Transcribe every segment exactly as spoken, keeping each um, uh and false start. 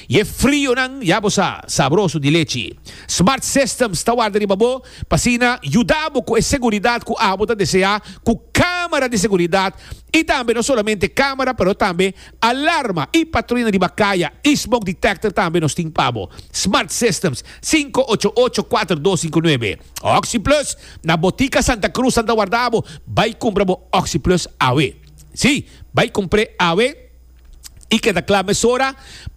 I e frionan, ya bo sa, sabroso di lechi. Smart Systems ta warda riba bo pa asina yuda bo ku e seguridat ku abo ta deseá ku kámara di seguridat i tambe no solamente kámara pero tambe alarma i patruya riba kaya i smoke detector tambe nos tin pa bo. Smart Systems, sinku ocho ocho kuater dos sinku nuebe. Oxi Plus na Botica Santa Cruz nan ta warda bo, bai kumpra bo Oxi Plus awe. Sí, bai kumpr'é awe i keda kla mesora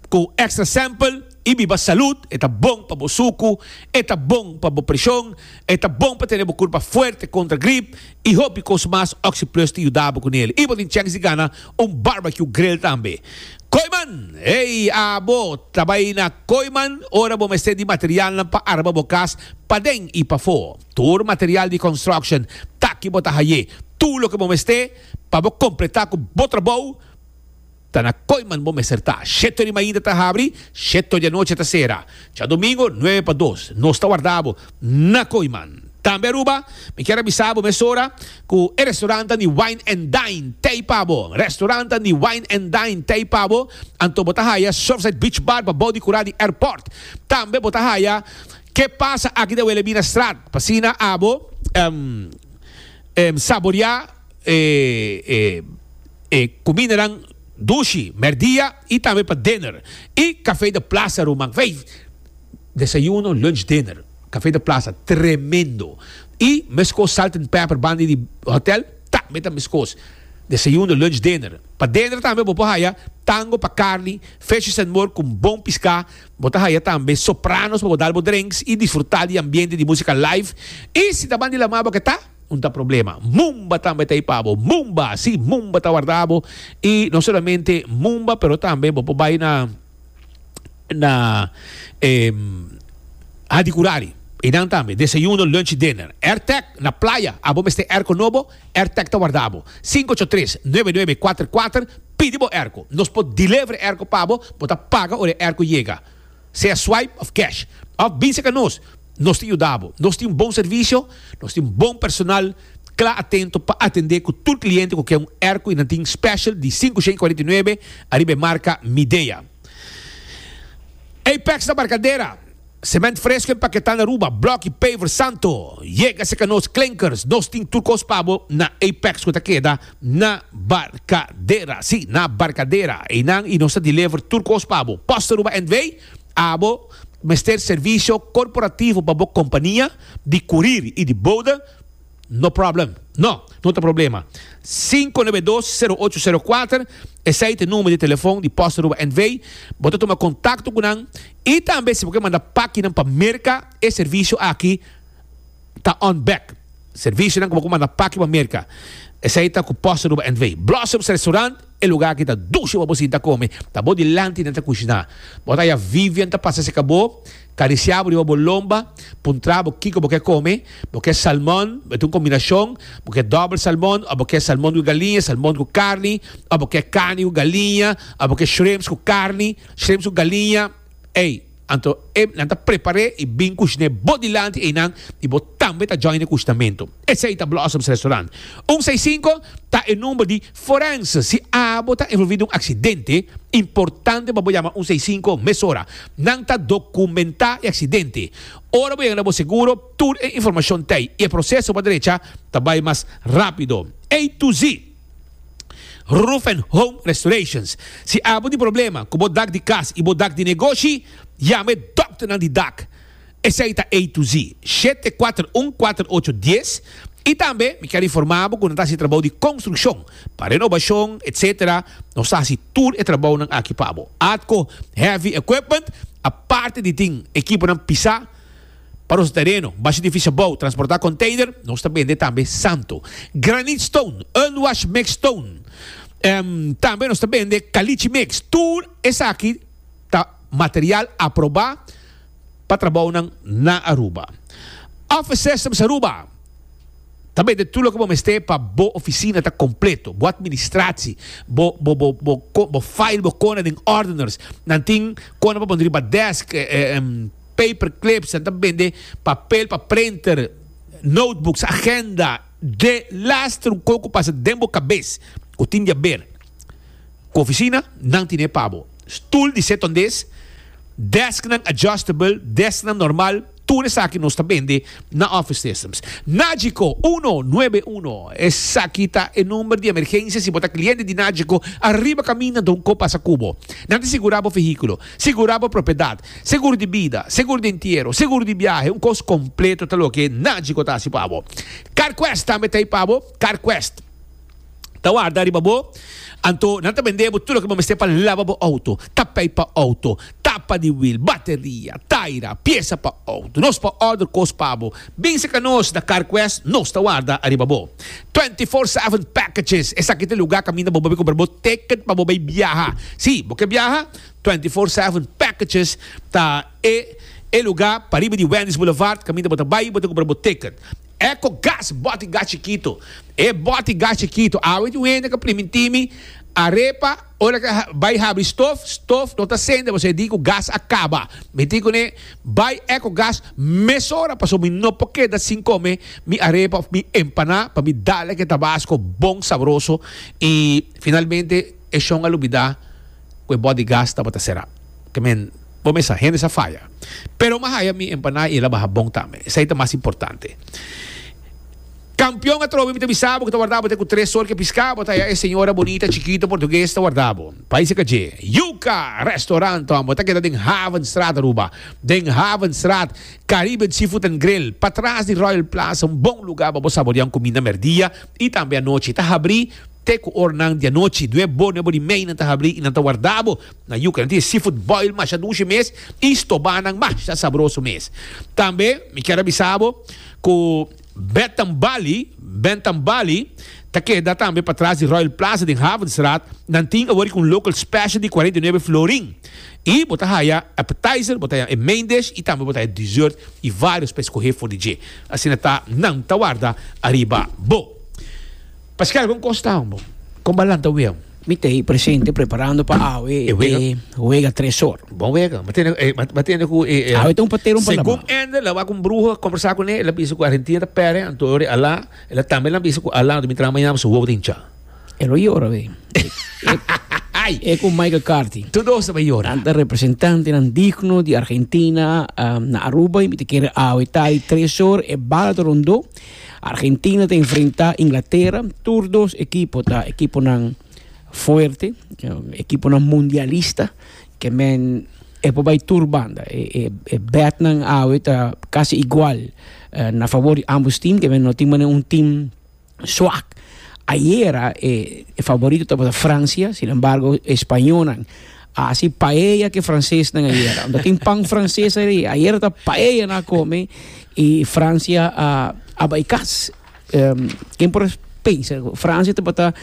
ku extra sample i biba salud. E ta bon pa bo suku, e ta bon pa bo preshon, e ta bon pa tene bo kurpa fuerte kontra grip i hopi kos mas. Oxi Plus ta yuda bo ku nel. I bo tin chèns di gana un barbecue grill tambe. Kooyman! Ey, abo ta bai na Kooyman ora bo mester di materialnan pa arma bo kas paden i pafó. Tur material di construction ta aki bo ta haye. Tur loke bo mester pa bo kompletá ku bo trabou ta na Kooyman bo mester ta. Shete di mainta ta habri, shete di anochi ta sera. Djadomingo nuebe pa dos. Nos ta warda bo na Kooyman. Tambe Aruba, mi kier a bisa bo mesora ku e restaurantan di Wine and Dine t'ei pa bo. Restaurantan di Wine and Dine t'ei pa bo. Anto bo ta haya Surfside Beach Bar pa bou di kura di airport. Tambe bo ta haya Ke Pasa aki den Wilhelminastraat. Pa asina abo saborea e kumindanan dushi merdia i tambe pa dinner. I Café de Plaza ruman. Desayuno, lunch, dinner. Café de Plaza, tremendo. I meskos Salt and Pepper banda di hotel, tambe ta meskos. Desayuno, lunch, dinner. Pa dinner tambe bo por haya Tango pa carni, Fishes and More cu bon pisca. Bo ta haya tambe Sopranos pa bo dal bo drinks i disfruta di ambiente di musica live. I si ta banda di lama bo ke ta, un ta problema. Mumba tambe ta ei pa bo. Mumba! Si, Mumba ta warda bo. I no solamente Mumba, pero tambe bo por bai na. na Hadicurari einan tambe desayuno, lunch y dinner. Airtec na playa, abo mester airco nobo? Airtec ta warda bo. Sinku ocho tres, nuebe nuebe kuater kuater, pidi bo airco. Nos por deliver e airco pa bo, bo ta paga ora e airco yega, sea swipe of cash. Of bin serka nos, nos ta yuda bo. Nos tin un bon servicio, nos tin bon personal kla atento pa atende ku tur kliente ku ke un airco y nan tin special di sinku shen kuarenta i nuebe ariba e marka Midea. Apex na Barcadera, Cement fresco empaketá na Aruba, blok y paver santo. Yega serka nos klinkers, nos tin tur kos pa bo na Apex ku ta keda na Barcadera. Sí, na Barcadera. Einan y nos ta deliver tur kos pa bo. Post Aruba N V, abo mester servisio korporativo pa bo kompania di kurir y di bode? No problem. No, no ta problema. Sinku nuebe dos, sero ocho sero kuater, esei ta e number di telefon di Post Aruba N V. Bo ta tuma kontakto ku nan i tambe si bo ke manda pakinan pa Merka, e servisio aki ta on bek. Servisionan ku bo ku manda paki pa Merka, esei ta ku Post Aruba N V. Blossoms Restaurant, e lugar aki ta dushi pa bo sinta kome. Ta bo dilanti nan ta kushiná. Bo ta haya Vivian ta pasa serka bo. Karisiá bo riba bo lomba, puntra bo kiko bo ke kome, bo ke salmon, bo ta un kombinashon, bo ke dòbel salmon òf bo ke salmon ku galiña, salmon ku karni, òf bo ke karni ku galiña, òf bo ke shrimps ku karni, shrimps ku galiña, ey, anto e nan ta prepar'é i bin kushin'é bo dilanti einan i bo tambe ta join e kushinamentu. Esei ta Blossoms Restaurant. Un seis sinku ta e number di forense. Si abo ta envolví den un aksidente, importante pa bo yama un seis sinku mesora. Nan ta dokumentá e aksidente. Ora bo yega na bo seguro, tur e informashon ta ei i e proseso pa drecha ta bai mas rápido. A to Z Roof and Home Restorations. Si abo tin problema ku bo dak di kas i bo dak di negoshi, yama e dòkternan di dak. Esei ta A to Z, shete kuater un kuater ocho dies. I tambe mi kier informa bo ku nan ta hasi trabou di konstrukshon, pa renobashon, etsetera. Nos ta hasi tur e trabounan aki pa bo. Atco Heavy Equipment, aparte di tin ekiponan pisá pa nos tereno, basha edifisio bou, transportá container, nos ta bende tambe santo, granite stone, unwash mix stone. Tambe nos ta bende caliche mix. Tur esaki ta material aprobá pa trabounan na Aruba. Office Systems Aruba ta bende tur loke bo mester pa bo oficina ta completo, bo administratie, bo bo bo bo bo file bo kona den ordeners. Nan tin kona pa pone riba desk, paper clips, nan ta bende papel pa printer, notebooks, agenda, de laster un kos ku pasa den bo kabes ku tin di haber ku oficina, nan tine pa bo. Stoel di setondes. Desknan adjustable, desknan normal, tur esaki nos ta bende na Office Systems. Nagico uno nuebe uno, esaki ta e number di emergencia si bo ta cliente di Nagico ariba caminda don co pasa cu bo. Nan ta sigura bo vehiculo, sigura bo propiedad, seguro di bida, seguro di entiero, seguro di biahe, un cos completo ta loke Nagico ta haci pa bo. CarQuest tambe ta ey pa bo, CarQuest. Ta warda riba bo, anto nan ta bende bo tur loke bo mester pa laba bo auto, tapei pa auto, tapa di wiel, bateria, taira, piesa pa auto. Nos por order kos pa bo. Bin seka nos na CarQuest, nos ta warda ariba bo. Twenty four seven packages, esaki ta e luga kaminda bo bai kumpra bo ticket pa bo bai biaha. Si, bo ke biaha? Twenty four seven packages ta e e luga pariba di Wendy's Boulevard kaminda bo ta bai bo ta kumpra bo ticket. Eco gas, bòti gas chikito. E bòti gas chikito. Awe tin un hende ka priminti mi arepa ora ka bai habri stof, stof no ta sende pasobra e di ku gas a kaba. Mi tin kuné bai Eco gas mesora pasobra mi no por keda sin kome mi arepa òf mi empaná pa mi dal e tabasco bon sabroso i finalmente e shon a lubidá ku e bòti gas tabata será. Ke men. Bo mesa, hende sa faya. Pero m'a haya mi empaná i el a baha bon tambe. Esei ta mas importante. Kampion atrobe mi ta bisa bo ku ta warda bo te ku tres or ke piská bo ta haya e señora bonita chikito portugues ta warda bo. Pais e kaje. Yuca Restaurant bo ta keda den Havenstraat Aruba. Den Havenstraat Caribbean Seafood and Grill patras di Royal Plaza un bon luga pa bo saborea un kuminda merdia i tambe anochi. Ta habri Te ku ornan di anochi, due bo nuebo di mei nan ta habri i nan ta warda bo na yuka. Nan tin e seafood boil masha dushi mes i stobanan masha sabroso mes. Tambe mi kier a bisa bo ku Bentham Bali, Bentham Bali, ta keda tambe patras di Royal Plaza den Havenstraat. Nan tin awor ku un local special di kuarenta i nuebe florin. I bo ta haya appetizer, bo ta haya e main dish i tambe bo ta haya dessert i varios pa escohe for di dje. Asina ta nan ta warda ariba bo. Pascal, kon kos ta bo? Kon ba lanta wea? Mi ta ei presente preparando pa awe E wega. e wega tres or. Bon wega. Ma tende, eh, ma, ma tende ku e, e, Awe ta un patero un Segun palabra. Ender, la wak un bruha kombersá kuné, el a bisa ku Argentina ta pèrdè, anto ora Alá, el a tambe la bisa ku Alá, anto mi traha mañana su wowo ta hinchá. E lo yora we. Ai! E ku Michael Carty. Tur dos ta bai yora. Nan ta representantenan digno di Argentina na Aruba y mi ta kere awe ta di tres or e bala ta rondó. Argentina ta enfrenta Inglatera. Tur dos ekipo ta ekiponan fuerte, ekiponan mundialista ke men e por bai tur banda. E e e betnan awe ta kasi igual na fabor di ambos team ke men no tin manera un team Swak. Ayera e favorito tabata Francia, sin embargo e spañonan a haci paella cu e francesnan ayera. Unda tin pan frances ahí, ayera ta paella nan a come y Francia a a bay cas. Ken por a pensa cu Francia tabata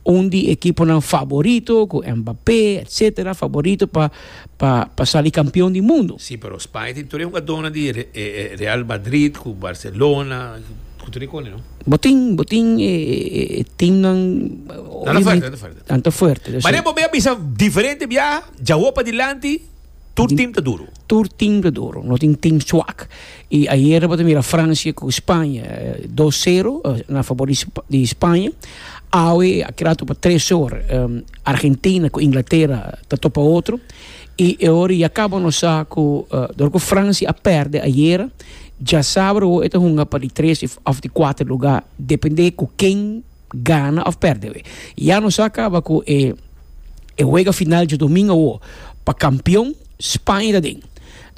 un di ekiponan favorito cu Mbappé etcetera, favorito pa pa pa sali campeon di mundo. Sí, pero Spaña tin tur e hugadónan di Real Madrid cu Barcelona. Ku tur e kone, no? Bo tin, bo tin e, e teamnan. Nan ta fuerte, nan ta fuerte. Nan ta fuerte. Dus, Mane bo be a bisa diferente biaha, djawo padilanti, tur team ta duro. Tur team ta duro, no tin team swak. I ayera bo ta mira Francia ku Spaña, dos sero na fabor di di Spaña. Awe a keda topa tres or, Argentina ku Inglatera ta topa otro. I e ora ya kaba nos sa ku dor ku Francia a pèrdè ayera, Djasabra awo e ta hunga pa di tres of di kuater luga depende ku ken gana of perde we. Ya nos sa kaba ku e e wega final djadomingo awo pa kampion Spaña ta den.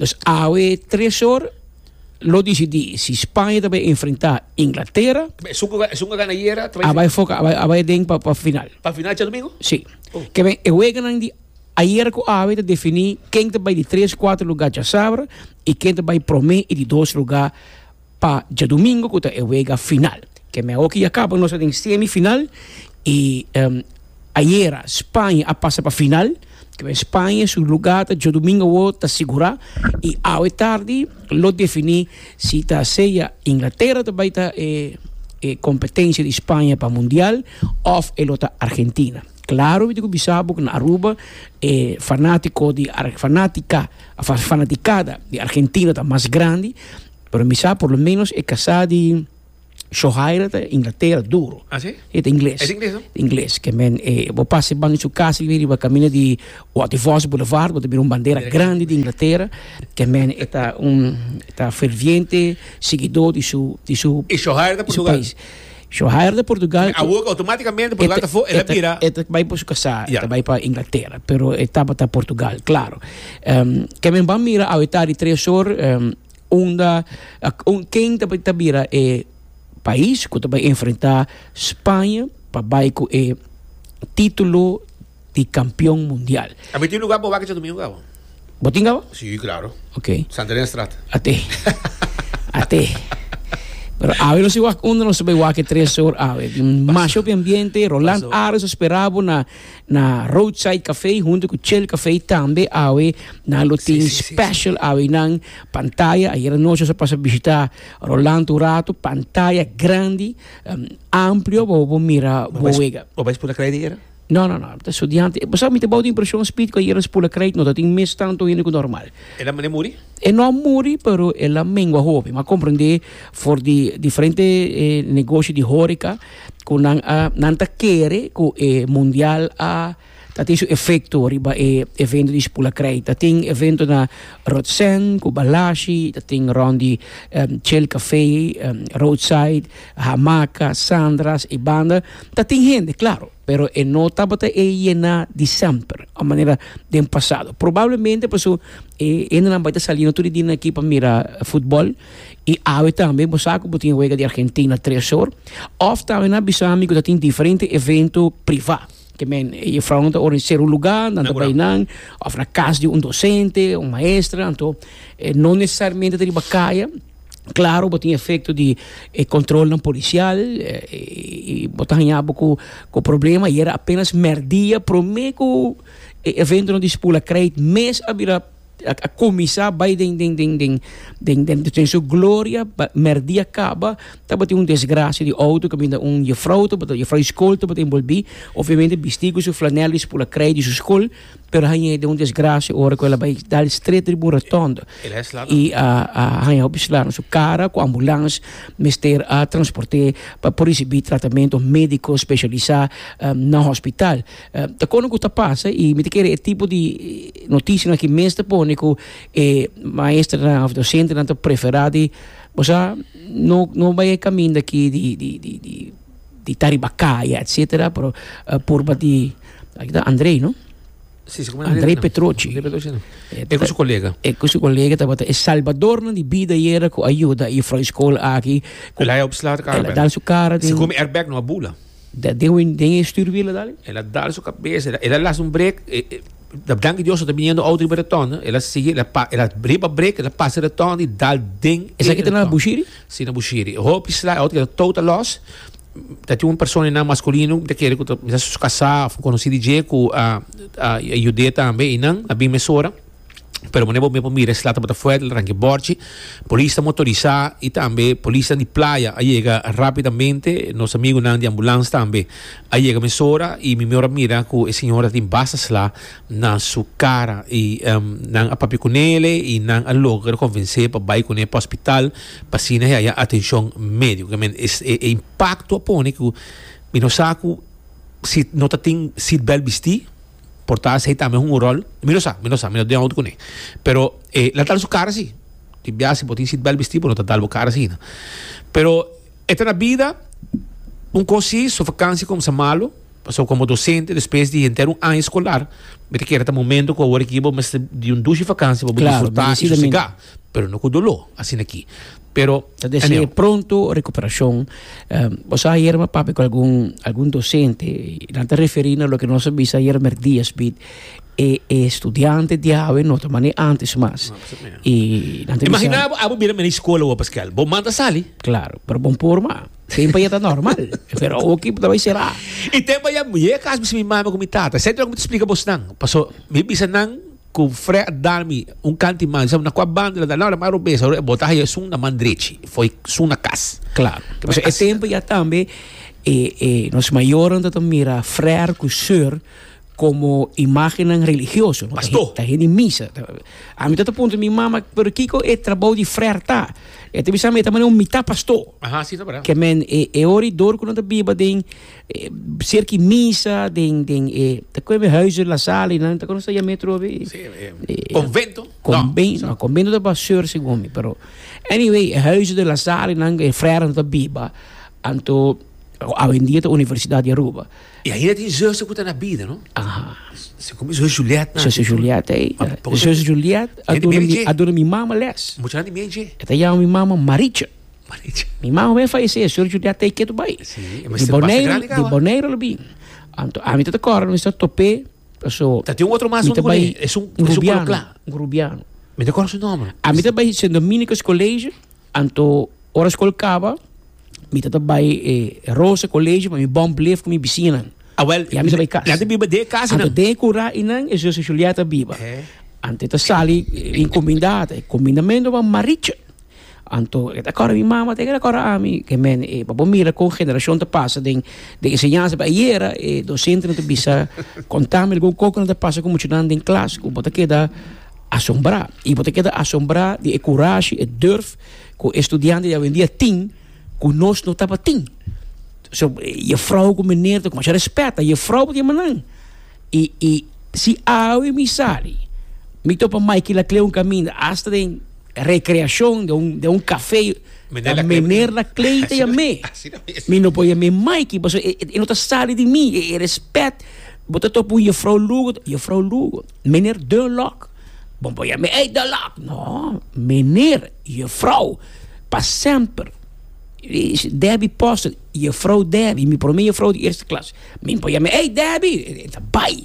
Dus awe tres or lo disidi si Spaña ta bai enfrenta Inglatera. Esun ku esun ku a gana ayera ta bai A bai foka a bai a bai den pa pa final. Pa final djadomingo? Si. Ke ben e weganan di Ayer ku awe ta definí ken ta bai di tres kuater lugá djasabra i ken ta bai promé i di dos lugá pa djadumingu ku ta e wega final. Ke me awoki ya kaba nos ta den semi final i ayera Spaña a pasa pa final. Ke me Spaña su lugá ta djadumingu awo ta sigurá i awe tardi lo definí si ta sea Inglatera ta bai ta e e kompetensia di Spaña pa mundial òf e lo ta Argentina. Claro mi tin cu bisa bo cu na Aruba e fanatico di fanatica of fanaticada di Argentina ta mas grandi, pero mi sa por lo menos e casa di Shohaira ta Inglatera duro. Ah, si? E ta ingles. E ta ingles, no? Ingles. Ke men, eh, bo pasa banda su kas riba kaminda di Waterfalls Boulevard, bo ta mira un bandera grandi di Inglatera. Ke men e ta un e ta ferviente siguidó di su di su E Shohaira ta di su Portugal. pais. Shohaira ta Portugal. Awor outomátikamente Portugal ta afó, el a bira. E ta bai pa su kasá, Ja. e ta bai pa Inglatera, pero e tabata Portugal, klaro. Um, ke men ban mira awe tardi tres or, um, unda un ken ta ta bira e pais ku ta bai enfrentá Spaña pa bai ku e título di kampeon mundial. Ami tin lugá pa wak djadumingu kaba. Bo tin kaba? Sí, klaro. Ok. Santa Elena Straat. Ate. Ate. Pero awe nos wak unda nos bai wak tres or awe. Masha hopi ambiente, Roland Ares a spera bo na na Roadside Café hunto ku Chill Café tambe awe nan lo tin special awe nan pantaya. Ayer anochi nos a pasa bishita Roland un rato, pantaya grandi, amplio bo bo mira bo wega. Bo bai spula krijt ayera? No, no, no, ta studiante. Bo sa mi ta bou di impresion Speed ku ayera spula krijt no ta tin mes tanto hende ku normal. El a mane muri? E no a muri pero el a mengua hopi. Mi a komprendé for di diferente negoshi di horeca ku nan a nan ta kere ku e mundial a ta tin su efekto riba e evento di spula krijt. Ta tin evento na Rotsen ku Balashi, ta tin rond di Chill Café, Roadside, Hamaka, Sandra's e banda. Ta tin hende, klaro. Pero e no tabata e yena di semper, a manera den pasado. Probablemente paso e hendenan bai ta saliendo tur e dianan aki pa mira futbol y awe tambe bo sa cu bo tin wega di Argentina tres or. Of tambe nan a bisa mi cu ta tin diferente evento priva. Ke men e juffrouwnan ta organiseer un lugar, nan ta bai nan, of na cas di un docente, un maestra, anto no necesariamente ta riba caya. Claro bo tin efecto di e controlnan policial y bo ta haña bo cu cu problema y era apenas merdia prome cu e eventonan di Spula Krijt mes a bira a cuminsa bay den den den den den den den su gloria merdia caba tabatin un desgracia di auto caminda un juffrouw tabata juffrouw di school tabata envolvi obviamente bisti cu su flanel di Spula Krijt di su school Pero haña den un desgracia ora cu el a bay dal stret riba un rotonde y a a haña hopi sla na su cara cu ambulans mester a transporte pa por ricibi tratamento medico specialisa na hospital. Ta kono cu ta pasa y mi ta kere e tipo di noticianan aki mes ta pone cu e maestranan of docentenan ta prefera di bo sa no no bay e caminda aki di di di di di ta riba caya etcetera pero purba di aki ta Andrey no. Sí, sí, como Andrei Petrochi. Andrei Petrochi, no. E ku su kolega. E ku su kolega tabata e salbadornan di bida ayera ku a yuda e juffrouw di skol aki. El a opsla kara. El a dal su kara den. Si komi airbag no a bula. Den den e stuurwiel a dal? El a dal su kabes, el a las un brek. Danki Dios no ta biniendo auto riba rotonde. El a sigui, el a pa, el a riba brek, el a pasa e rotonde i dal den e Esaki ta na rotonde. Bushiri? Si, na Bushiri. Hopi sla, e auto keda total loss. Ta tin un persona einan masculino, mi ta kere ku ta mester su kasá òf un konosí di dje ku a a yud'é tambe einan, a bin mesora. Pero manera bo por mira e sla tabata fuerte, el a ranka e bòrchi. Polis ta motorisá i tambe polisnan di playa a yega rápidamente. Nos amigunan di ambulans tambe a yega mesora i mi mihor a mira ku e señora tin basta sla na su kara i nan a papia kunele i nan a logra konvensé pa bai kuné pa hospital pa asina e haya atenshon médiko. E impakto a pone ku mi no sa ku si no ta tin seatbelt bistí por ta esei tambe hunga un ròl. Mi no sa, mi no sa, mi no den outo kuné. Pero e la dal su kara si. Tin biaha si bo tin seatbelt bistí bo no ta dal bo kara asina. Pero e ta na bida un kos si su vakansi kumsa malu pasobra komo dosente despues di henter un aña eskolar mi ta kere ta momento ku awor aki bo mester di un dushi vakansi pa bo disfrutá i sosegá pero no ku doló asina aki. Pero Ta desea pronto recuperacion. Bo sa ayer mi a papia cu algun algun docente y nan ta referi na loke nos a bisa ayer merdia Speed. E e studiante di awe no ta mane antes mas. Y nan ta bisa. Imagina bo abo bira mene escola awor Pascal, bo manda sali. Claro, pero bon por ma. Tempo ya ta normal, pero awor ki ta bay cera. Y tempo ya mi yega cas mi bisa mi mama cu mi tata, esei ta loke mi ta splica bosnan, paso mi bisa nan. Ku Fre a dal mi un kanti man, sa na kua banda el a dal? No, na man robes, ahora e bota haya esun na man drechi, foi esun na kas. Klaro. Pasobra e tempu ya tambe e e nos mayornan ta ta mira frèr ku sùr Como imagennan religioso. No? Pastor. Ta hende misa. Ami ta puntra mi mama, pero kiko e trabou di frère ta? E ta bisa mi ta un mitá pastor. Aha, si, ta bèrdat. Ke men e e ori dor ku nan ta biba den e, serka misa den den e ta kome huizen La Salle nan ta kono sa metro be. Si, eh, convento? Convento, no, convento ta pa seur segun mi, pero anyway, huizen de La Salle nan e frère ta biba. Anto awendia ta Universidad di Aruba. I ainda tin zuster ku ta na bida, no? Aha. Se komo zus Juliette na. Zuster Juliette, eh. Ma poko Zuster Juliette a Hende duna meri mi, dje. a duna mi mama les. Mucha hende meri dje. E ta yama mi mama Marietje. Marietje. Mi mama ben fallecé, zuster Juliette ei ketu bai. Si, e Di mester basta Bonaire, grandi di kaba. Bonaire lo bin. Anto ami ta ta kòrda mi sa top'é, paso Ta tin un otro mas mi huntu ta kuné, bai es un un es un kolo rubiano, kla. un rubiano. Mi ta kòrda su nòmber. Ami ta bai Sint Dominicus College, anto ora skol kaba, mi ta ta bai e Rosa College pa mi bon blef ku mi bisiñanan. Awel, I ami ta bai kas. Nan ta biba den e kas Anto einan. den e kura einan e zuster Juliette a biba. Eh. Anto e ta sali enkomendá, e komendamentu pa Marietje. Anto e ta kòrda mi mama, te keda kòrda ami, ke men e pa bo mira kon generashon ta pasa den den enseñansa. Pa ayera e dosentenan ta bisa konta mi algun kos ku nan ta pasa ku muchanan den klas ku bo ta keda asombrá. I bo ta keda asombrá di e kurashi, e durf ku e studiante di awendia tin ku nos no tabatin. So jefrouw ku meneer ta ku masha respet, ta jefrouw bo ta yama nan. I i si awe mi sali mi topa Mikey Laclé un kaminda asta den recreashon den un den un café Meneer ta Laclé. Meneer Laclé ta yam'é. Asina mes. Mi no por yam'é Mikey pasobra e e no ta sali di mi e respet. Bo ta topa un jefrouw Lugo, jefrouw Lugo, meneer Dunlock. Bo por yam'é ey Dunlock. No, meneer, jefrouw, pa semper. Debbie Postel, jefrouw Debbie, mi promé jefrouw di eerste klas. Mi por yam'é ey Debbie, e ta bai.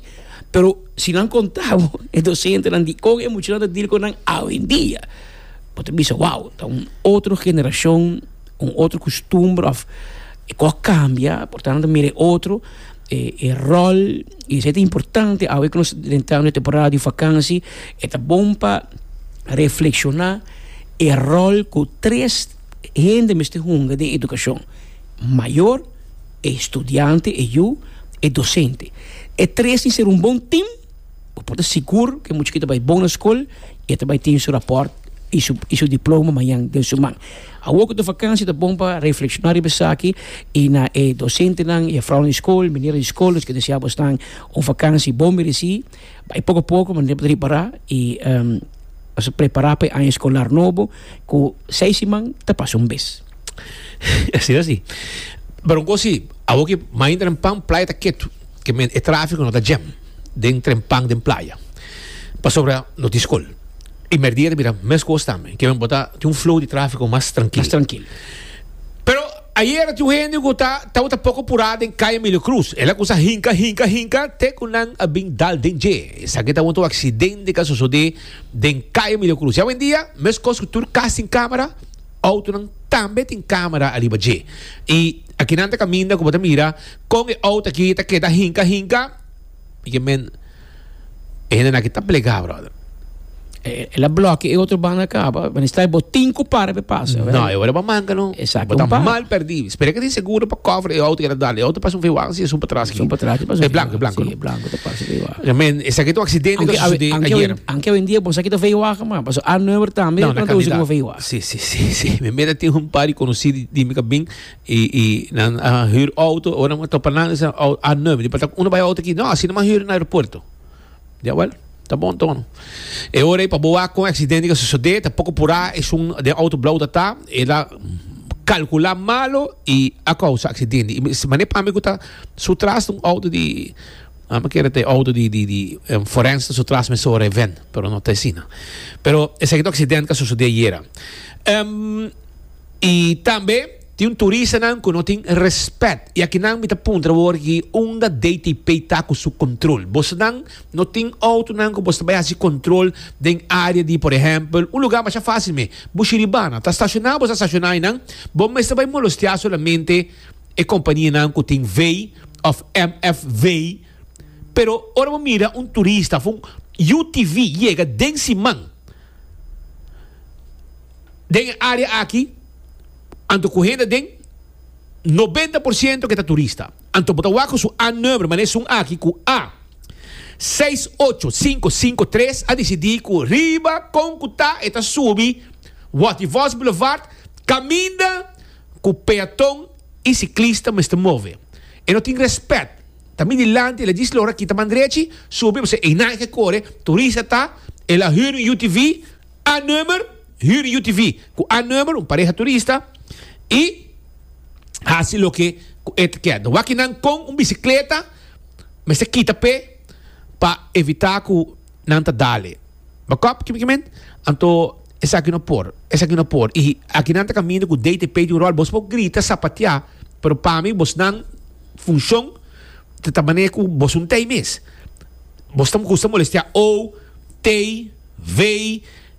Pero si nan konta bo e dosentenan di kon e muchanan ta deal ku nan awendia, bo ta bisa wow, ta un otro generashon, un otro kustumber òf e kos a kambia, por tanto mira e otro e e ròl i esei ta importante awe ku nos drentando e temporada di vakansi e ta bon pa reflekshoná e ròl ku tres hende mester hunga den edukashon, mayor, e studiante, e yu, e dosente. E tres tin ser un bon tim, bo por ta sigur ku e muchachito ta bai bon na skol i e ta bai tin su rapòrt i su i su diploma mañan den su man. Awor ku ta vakansi ta bon pa reflekshoná riba esaki i na e dosentenan, jefrounan di skol, menernan di skol, nos ke desea bosnan un vakansi bon meresí. Bai poko poko manera bo ta ripará i Nos a prepará pa e aña eskolar nobo ku seis siman ta pasa un bes. Asina si. Pero un kos si, awor ki main trempan playa ta ketu, ke men e trafiko no ta jam den trempan den playa, pasobra no tin skol. I merdia ta bira mes kos tambe, ke men bo ta tin un flow di trafiko mas trankil. Mas trankil. Pero ayera tin un hende ku ta tabata poko purá den Kaya Emilio Cruz. El a kusa hinka, hinka, hinka te ku nan a bin dal den dje. Esaki tabata un aksidente ku a sosodé den Kaya Emilio Cruz. I awendia, meskos ku tur kas tin kamera, outonan tambe tin kamera ariba dje. I akinan ta kaminda ku bo ta mira kon e outo aki ta keda hinka, hinka. I ke men e hendenan aki ta plegá, brother. El a blòkia e otro banda kaba, wanneer sta e bo tin ku para pa e pasa. No, e ora bo manka no. Esaki Bo ta un para. mal pèrdí. Spera ke tin seguro pa cover e outo ku el a dal. E outo pasa un veiwagen si esun patras aki. Esun patras pasa un E blanko, e blanko, Sí, no? e blanko ta pasa veiwagen. Ja, men, esaki ta un aksidente ku Aunke a sosodé aunke ayer. aunke awendia bo sa kita veiwagen mas, pasobra a number tambe No, na nan ta usa kandidat. komo veiwagen. Sí, sí, sí, sí. Mi mira tin un par di konosí di, di mi kabin i, i nan a hür outo, ora nan a topa nan, nan a a number. Di pa ta unda bai outo aki? No, asina nan a hür na aeropuerto. Jawel, ta bon tono. E ora ei pa bo wak kon e aksidente ku a sosodé, ta poko purá esun den outo blou ta ta, el a kalkulá malo i a kousa aksidente. I manera pa mi ku ta su tras ta un outo di, a mi kere ta e outo di di di forense ta su tras mesora e ven, pero no ta asina. Pero esaki ta un aksidente ku a sosodé ayera. I tambe tin un turistanan ku no tin rèspèt. I akinan mi ta puntra awor ki unda D T P ta ku su kontrol. Bosonan no tin outonan ku boso ta bai hasi kontrol den área di, por ehèmpel, un lugá masha fásil me, Bushiribana. Ta stashoná boso a stashoná einan, bo mester bai molostiá solamente e kompanianan ku tin V òf M F V. Pero ora bo mira un turista òf un U T V yega den siman den e área aki, anto ku hende den nobenta por siento ke ta turista. Anto bo ta wak ku su A number, manera esun aki ku A. Seis ocho sinku sinku tres a disidí ku riba kon ku ta e ta subi Watty Vos Boulevard kaminda ku peaton i siklista mester move. E no tin rèspèt. Ta mi dilanti el a djis lora kita man drechi subi pasobra einan e ke kore turista ta el a hür un U T V a number hür un U T V ku a number un pareha turista i hasi loke ku e ta kier. Wak kinan kon un bisikleta mester kita p'e pa evitá ku nan ta dale. Bakòp ki mi kimen? Anto esaki no por, esaki no por. I aki nan ta kaminda ku D T P tin un ròl. Bos por grita, sapatiá, pero pa mi bosnan funshon ta ta manera ku bos un tei mes. Bos ta gusta molestiá O, T, V,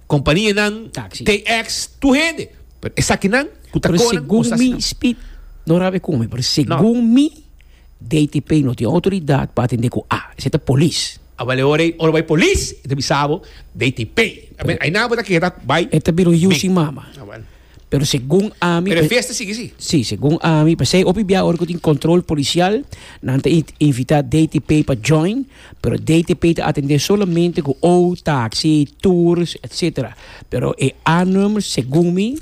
kompanianan, Taxi. T X, tur hende. Pero esakinan ku ta Pero konan, segun bos ta mi, hasi nan. Speed, no rabe ku mi, pero No. segun mi, D T P no tin outoridat pa atendé ku A. Esei ta polis. A bale ora ei, ora bai polis, e ta bisa bo D T P. A ber, ai nan bo ta keda bai E ta bira un yu big. sin mama. Ah, bueno. Pero segun ami, Pero e pe- fiesta sigui, si. Sí, segun ami, p'esei hopi bia ora ku tin control policial, nan ta in-, invita D T P pa join, pero D T P ta atendé solamente ku O, taxi, tours, etcétera. Pero e A-nummer, segun mi,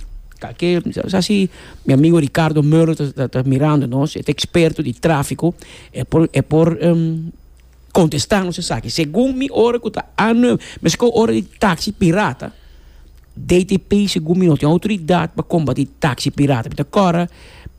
que, sa si mi amigo Ricardo Meulen ta, ta, ta mirando nos, e ta experto di tráfico, e por, e por, em, contestar nos esaki. Segun mi ora ku ta A-nummer, mesko ora di taxi pirata, D T P segun mi no tin autoridad pa combatir taxi pirata. Pita cora,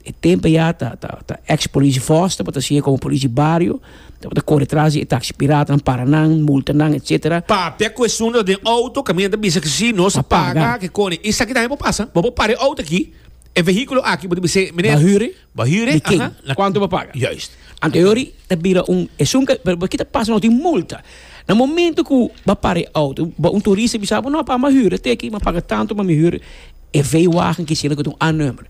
e tempo ya ta, ta, ta ex-politie Foster, pa ta sigue como politie barrio, ta, ta corre tras di taxi pirata, nan para nan, multa nan, etcétera. Papia ku esun den auto, caminda bisa que si no se Pa paga. paga, que cone. E sa ki tambe pasa. Bo bo pare auto aqui, e veículo aqui, bo bisa, meneer, Ba huren? Ba huren, Di ken? aha. Na Quanto ba paga? Juist. Anteriori, ta bira un, es un, pero kita pasa no tin multa. Na momento que ba pare auto, ba un turista bisa, no, pa ma huren, te aqui, ma paga tanto, ma mi huren. E V-wagen que sila que un A-nummer.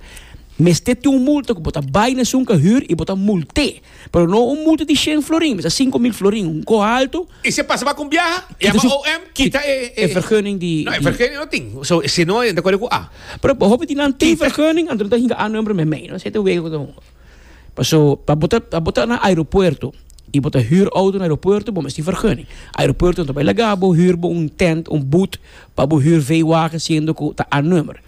Meste tem um multa que bota vai na sunca huur e bota multe. Pero não um multa de cem florin, mas cinco mil florin, um co alto. E se passa para com viaja, Kita e su- O M, kita e, e, E vergunning die- Não, e die- vergunning não tem. So, se não, de acordo com A. Pero hoop die dan tem vergunning, en dan hinga A-nummer met mee. Dan zit de wegen de Paso, pa bota, pa bota na aeropuerto. E bota huurauto na aeropuerto, bom, is die vergunning. Aeropuerto, dan bij Lagabo, huur bo un tent, un boot, pa bo huur V-wagen, siendo ko ta A-nummer.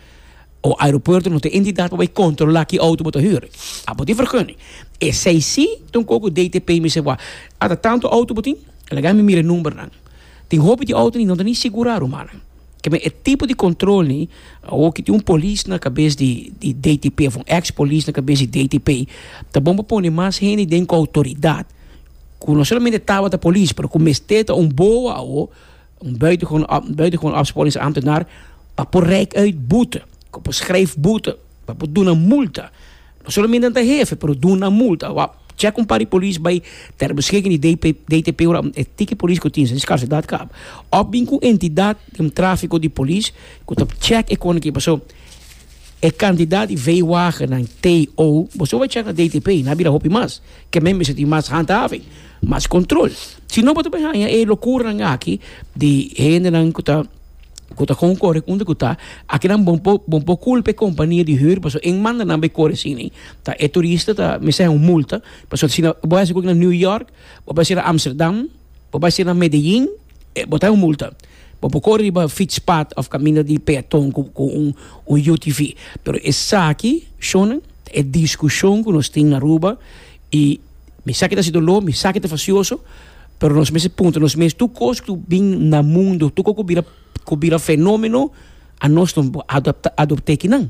O aeropuerto não tem entidade para controlar que auto bota huur. Ah, bota die vergunning. E sei si, toen koko D T P me se wa. Ah, tanto auto botin, ela ga me mira nummer dan. Tem hoop die auto niet, não tem segurar o man. Que me é tipo de controle, ou que tem um polícia na cabeça de, de D T P, of um ex-polícia na cabeça de D T P, tá bom para pôr mais gente dentro com autoridade. Que não somente tava da polícia, mas com mesteta um boa ou um buitengewoon, um buitengewoon opsporingsambtenaar, para pôr rijk uit boete, para schrijf boete, para pôr doen een multa. Não somente aan de hefe, maar doen een multa. Wa, check een paar die politie bij ter beschikking die D P, D T P ora, e tiki politie ko tien, zijn scarciteit kap. Op bin ku entidade de tráfico de politie, ku tap check e kon ki so e kandidaat die V-wagen naar T O, bo so check na D T P, na bira hopi mas, ke men se die mas handhaving, mas controle. Si no boto bij e loucura nan aqui die hende nan ku ta ku ta kon kore kunde ku ta, aqui nan bom po, bom po culpe companhia de huur, paso em manda nan be kore sini, ta e turista ta me sai un multa, paso si na bo vai na New York, bo vai na Amsterdam, bo vai na Medellín, e botar un multa. Bo po kore riba fietspad of caminho de peatão com, com um, um U T V. Pero esaki, shonen, é discussão que nós temos na Aruba e me saque da sidolo, me saque da facioso, pero nos meses ponto, nos meses tu cos tu bin na mundo, tu coco bira que bira fenômeno, a nós não adopta, adoptei que não.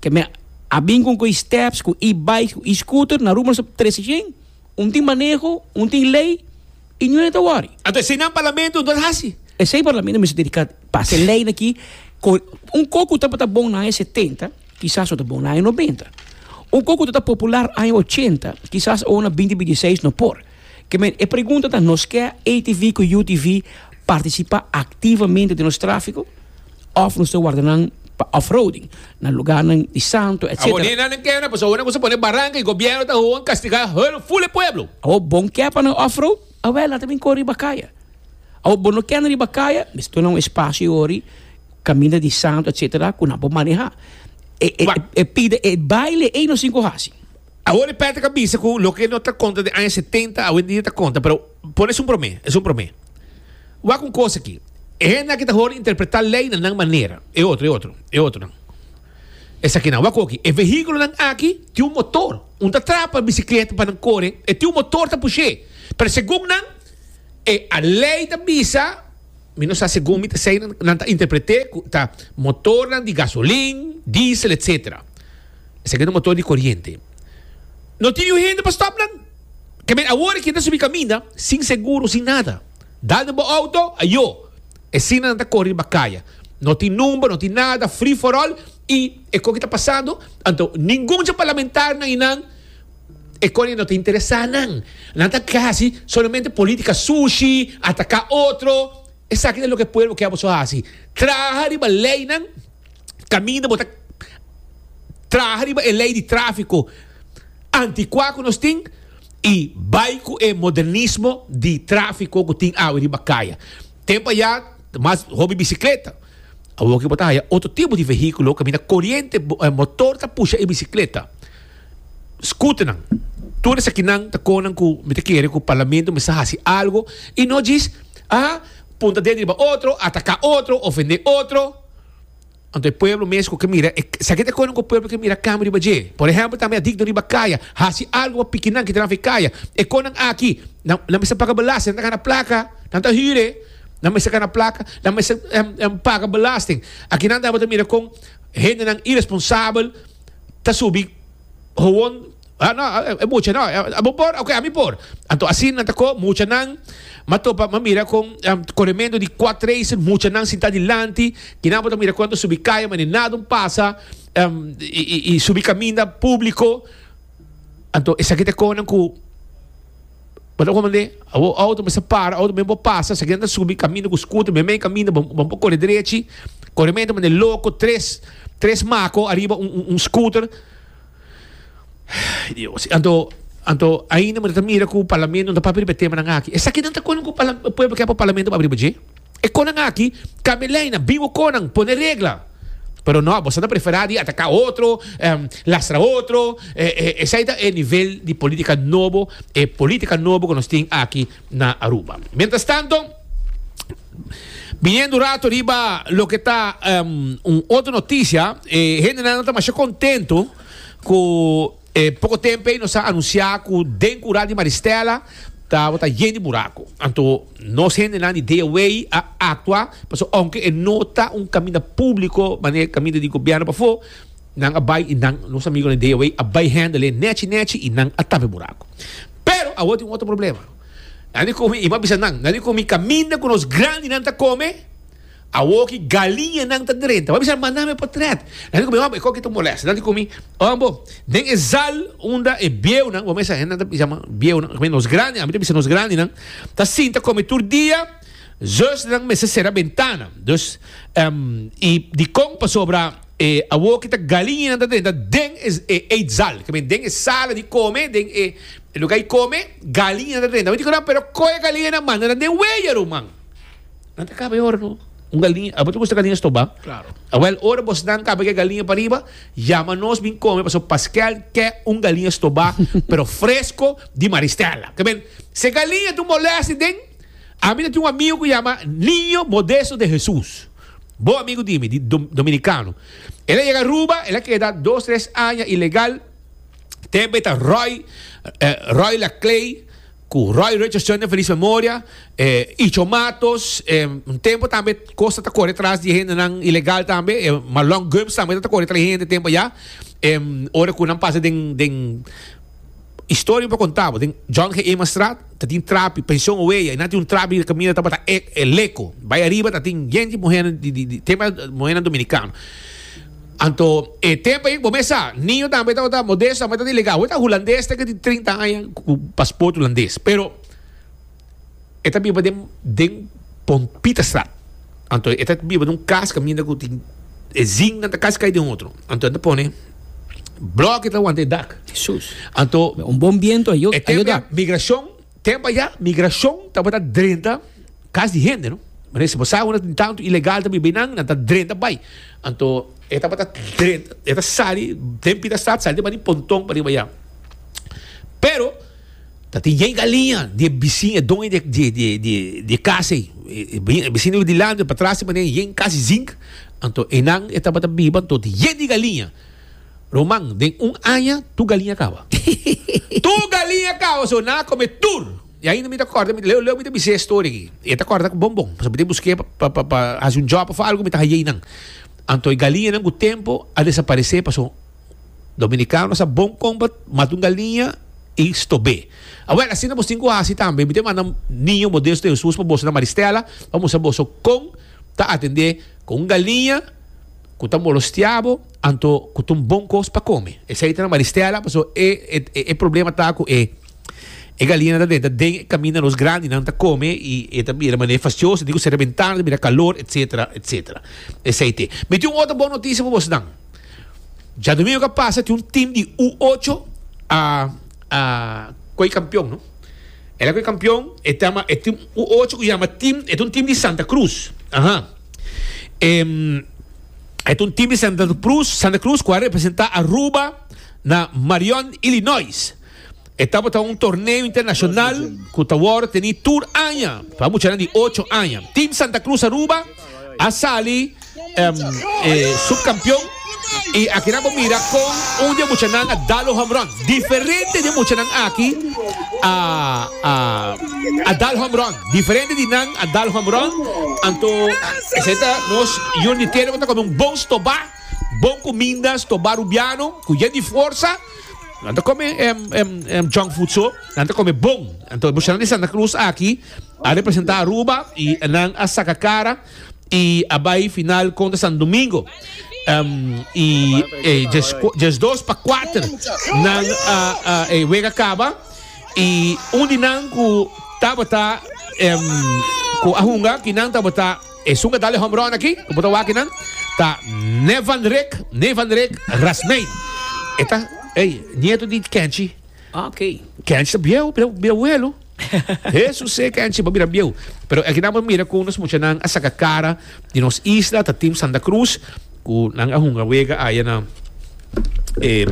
Que me a bem com com steps, com e-bike, com e-scooter, na rua nós três gente, um tem manejo, um tem lei, e não é da worry. Então, se não parlamento, não é assim. E sem parlamento, me se dedicar para ser lei aqui, com, um coco tá tá bom na anos setenta, quizás tá bom na anos noventa. Um coco tá popular anos oitenta, quizás ou na vinte vinte e seis não por. Que me, e pergunta tá, nós quer A T V com U T V participa ativamente do nosso tráfico, of nos guardanang pa off-roading, na lugar ng di santo, et cetera. Abo, ni na nang kaya na, paso, una cosa pone barranca y gobierno ta huwag castigar el full pueblo. Abo, bom kaya pa ng off-road, awel, natin yung kori bakaya. Abo, bom no kaya na ribakaya, misto na un espacio ori, camina di santo, et cetera, kung na po maneha. E, e, Wa- e, pide, e baile, e no cinco hasi. Agora Patrick avisa que lo que no está conta de años setenta, hoy en día está conta, pero Pone esun promé, esun promé. Wak un kos aki. E hende aki ta hor interpretá lei na nan manera. E otro, e otro, e otronan. Esakinan, wak oki. E vehíkulonan aki tin un motor. Un ta trapa bisikleta pa nan kore, e tin un motor ta push'é. Pero segun nan, e a lei ta bisa, mi no sa segun mi ta esei nan, nan ta interpret'é ku ta motornan di gasolin, diesel, etsetera. Esaki ta un motor di koriente. No tin niun hende pa stòp nan. Ke men awor aki ta subi kaminda sin seguro, sin nada. Dal den bo auto, ayo. Esina nan ta kore riba kaya. No tin number, no tin nada, free for all y e koki ta pasando, anto ningun dje parlamentarnan y nan e koe no ta interesa nan. Nan ta hasi solamente politica sushi, ataka otro. Esaki ta loke pueblo ke aboso hasi. Traha riba leynan kaminda bo ta traha riba e ley di trafico anticuá cu nos tin y bay cu e modernismo di trafico cu tin awe riba caya. Tempo aya ta mas hopi bicicleta. Awor ki bo ta haya otro tipo di vehiculo caminda coriente motor ta pusha e bicicleta. Scooternan. Tur esakinan ta conan cu mi ta kere cu parlamento mester haci algo y no djis a punta dedo riba otro, ataca otro, ofende otro. Anto e pueblo mes ku ke mira e esaki ta e konan ku e pueblo ke mira kambio riba dje. Por ehèmpel tambe adikto riba kaya, hasi algu pa piki nan kita nan for e kaya. E konan aki, nan nan mester paga belasting, nan ta gana plaka, nan ta hür e, nan mester gana plaka, nan mester paga belasting. Aki nan tabata mira kon hendenan iresponsabel ta subi Gewoon, ah no, e mucha no, abo por? Ok, ami por. Anto asina nan ta ko, muchanan, m'a topa, m'a mira kon koremento di quad racer, muchanan sinta dilanti, kinan bo ta mira kon ta subi kaya mane nada un pasa, i subi kaminda publiko. Anto esaki ta e konan ku bo ta komprende? Awor auto mester para, auto men por pasa, esaki nan ta subi kaminda ku scooter, men men kaminda, bo bo por kore drechi, koremento mane loko, tres, tres mako ariba un un scooter. Ay Dios. Anto, anto ainda mi ta mira ku parlamento no ta papia riba e temanan aki. Esakinan ta konan ku parla, pueblo ke pa parlamento papia riba dje. E konan aki, kambia leinan, bin ku konan, pone regla. Pero no, boso ta prefera di ataka otro, lastra otro. Esei ta e nivel di politica nobo, e politica nobo ku nos tin aki na Aruba. Mientras tanto, biniendo un rato riba loke ta un otro noticia, e hendenan ta masha contento ku e poko tempu ei nos a anunsiá ku den kura di Maristella tabata yen di buraku. Anto nos hendenan di D O A a aktua pasobra ounke e no ta un kaminda públiko manera e kaminda di gobièrnu pafó, nan a bai i nan, nos amigonan di D O A a bai hèndel e nèchi nèchi i nan a tapa e buraku. Pero awor tin un otro problema. Nan di ku mi, i mi a bisa nan, nan di ku mi kaminda ku nos grandinan ta kome, Awor ki galiñanan ta drenta. Bo a bisa manda mi potret. Nan di ku mi, Homber, e koki ta molesta. Nan di ku mi, Homber, den e zal unda e bieunan, bo mesa hendenan ta bisa bieunan, nos grandinan, ami ta bisa nos grandinan, ta sinta kome tur dia, zusnan mester sera bentana. Dus, i dikon? Pasobra e awor ki ta galiñanan ta drenta den e eetzal, den e sala di kome, den e lugar di kome, galiñanan ta drenta. Mi di ku nan, pero kohe galiñanan manda nan den weya, ruman. Nan ta kaba e ora no. Un galiña, abo ta gusta galiña stobá? Claro. Awel, ora bosnan kaba ke galiña pariba, yama nos bin kome pasobra Paskel ke un galiña stobá, pero fresco di Maristella. Ke men, si e galiña ta un molestia den, ami ta tin un amigo ku yama Niño Modesto de Jesus. Bon amigo di mi, di Dominicano. El a yega Aruba, el a keda dos, tres aña ilegal. Tempo e ta Roy, Roy Laclay. Ku Roy Richardson den felis memoria, e Icho Matos, e un tempo tambe Costa ta kore tras di e hendenan ilegal tambe, e Marlon Gumbs tambe ta kore tras di hende tempo ya, e ora ku nan pasa den den historia mi por konta bo, den John G. Emanstraat ta tin trapi, pension Oeya, i nan tin un trapi kaminda tabata e e leko, bai ariba ta tin yen di muhernan di di di tempo muhernan dominikano. Anto e tempo ei bo mes sa, niño tambe tabata modesto, tambe tabata ilegal. Awor ta hulandes ta ke tin trinta aña ku paspoort hulandes, pero e ta biba den den Pompitastraat. Anto e ta biba den un kas kaminda ku tin e zinnan ta kasi kai den otro. Anto e ta pone bloki ta wanta e dak. Hesus. Anto Un bon biento ayo e tempo ayo dak. migrashon, tempo aya migrashon tabata drenta Kas di hende no. Manera si bo sa unda tin tantu ilegal ta biba einan, nan ta drenta bai. Anto e tabata drenta, e ta sali den Pitastraat, sali den bani Ponton pariba ya. Pero Ta tin yen galiña di e bisiña, e doño di di di di di e kas ei. E bisiña di dilanti patras di manera yen kas di zink. Anto einan e tabata biba anto tin yen di galiña. Roman, den un aña tur galiña kaba. Tur galiña kaba, so nan a kome tur. I ainda mi ta kòrda, mi leu leu mi ta bis'é e storia aki. E ta kòrda ku bon bon, pasobra mi ta busk'é pa pa pa hasi un job òf algu mi ta hañ'é einan. Anto e galiñanan ku tempu a desaparesé pasobra dominikano sa bon kon pa mata un galiña i stob'é. Awèl, asina bos tin ku hasi tambe. Mi ta manda Niño Modesto de Jesús pa boso na Maristela pa mustra boso kon ta atendé ku un galiña ku ta molestia bo anto ku ta un bon kos pa kome. Esei ta na Maristela pasobra e e problema ta ku e e galiñanan ta drenta den e kaminda nos grandinan ta kome i e ta bira manera fastioso, tin ku sera bentana, ta bira kalor etsetera etsetera. Esei te. Mi tin un otro bon notisia pa bosnan. Djadumingu ku a pasa tin un tim di U ocho a a koi kampion no. El a koi kampion e ta e tim U ocho ku yama tim e ta un tim di Santa Cruz aha. E ta un tim di Santa Cruz, Santa Cruz ku a representá Aruba na Marion, Illinois. E tabata un torneo internashonal ku ta wòrdu tení tur aña pa muchanan di ocho aña. Tim Santa Cruz Aruba a sali subkampion i akinan bo mira kon un di e muchanan a dal un home run. Diferente di e muchanan aki a a dal home run. Diferente di nan a dal home run. Anto esei ta nos yun di tera ku ta kome un bon stobá, bon kuminda, stobá rubiano ku yen di forsa. Nan ta kome junk food so, nan ta kome bon. Anto e muchanan di Santa Cruz aki a representa Aruba y nan a saca cara y a bay final contra San Domingo. Y djes dos pa cuater nan a e wega caba y un di nan cu tabata cu a hunga ki nan tabata esun cu a dal e home run aki cu bo ta wak nan ta Nevan Rick, Nevan Rick Rasmijn. E ta, ey, nieto di Kenchi. Ah, ok. Kenchi ta bieu, bira, bira abuelo. Hesus e Kenchi bo bira bieu. Pero aki nan bo mira ku nos muchanan a saka kara di nos isla, ta Team Santa Cruz, ku nan a hunga wega aya na eh,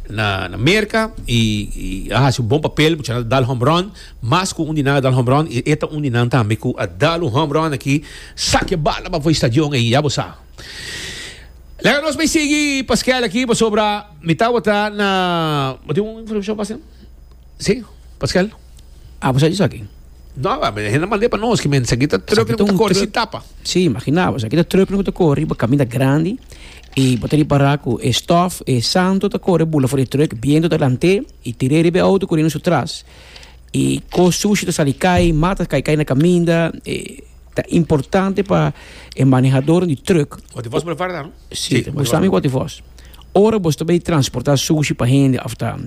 na, na Merka i, i a hasi un bon papel, muchanan a dal home run, mas ku un di nan a dal home run, i e ta un di nan tambe ku a dal un home run aki, saka e bala pa for e stadion ei, ya bo sa. Laga nos bai sigui Paskel aki pasobra mi tabata na bo tin un informacion pa haci? Si, Paskel? Ah, bo sa di esaki? No, hende a mand'é pa nos, ki men esaki ta truck ku ta kore sin tapa. Si, imagina bo, esaki ta truck ku ta kore riba kaminda grandi i bo ta ripara ku e stof, e santo ta kore bula for di e truck, biento ta lant'é i tir'é riba e auto koriendo su tras i kos sushi ta sali kai, mata ta kai kai na kaminda. Ta importante pa e manehadornan di truck. Wati vos por farda, no? Sí, bo sa mi wati vos. Ora bo ta bay transporta sushi pa hende of ta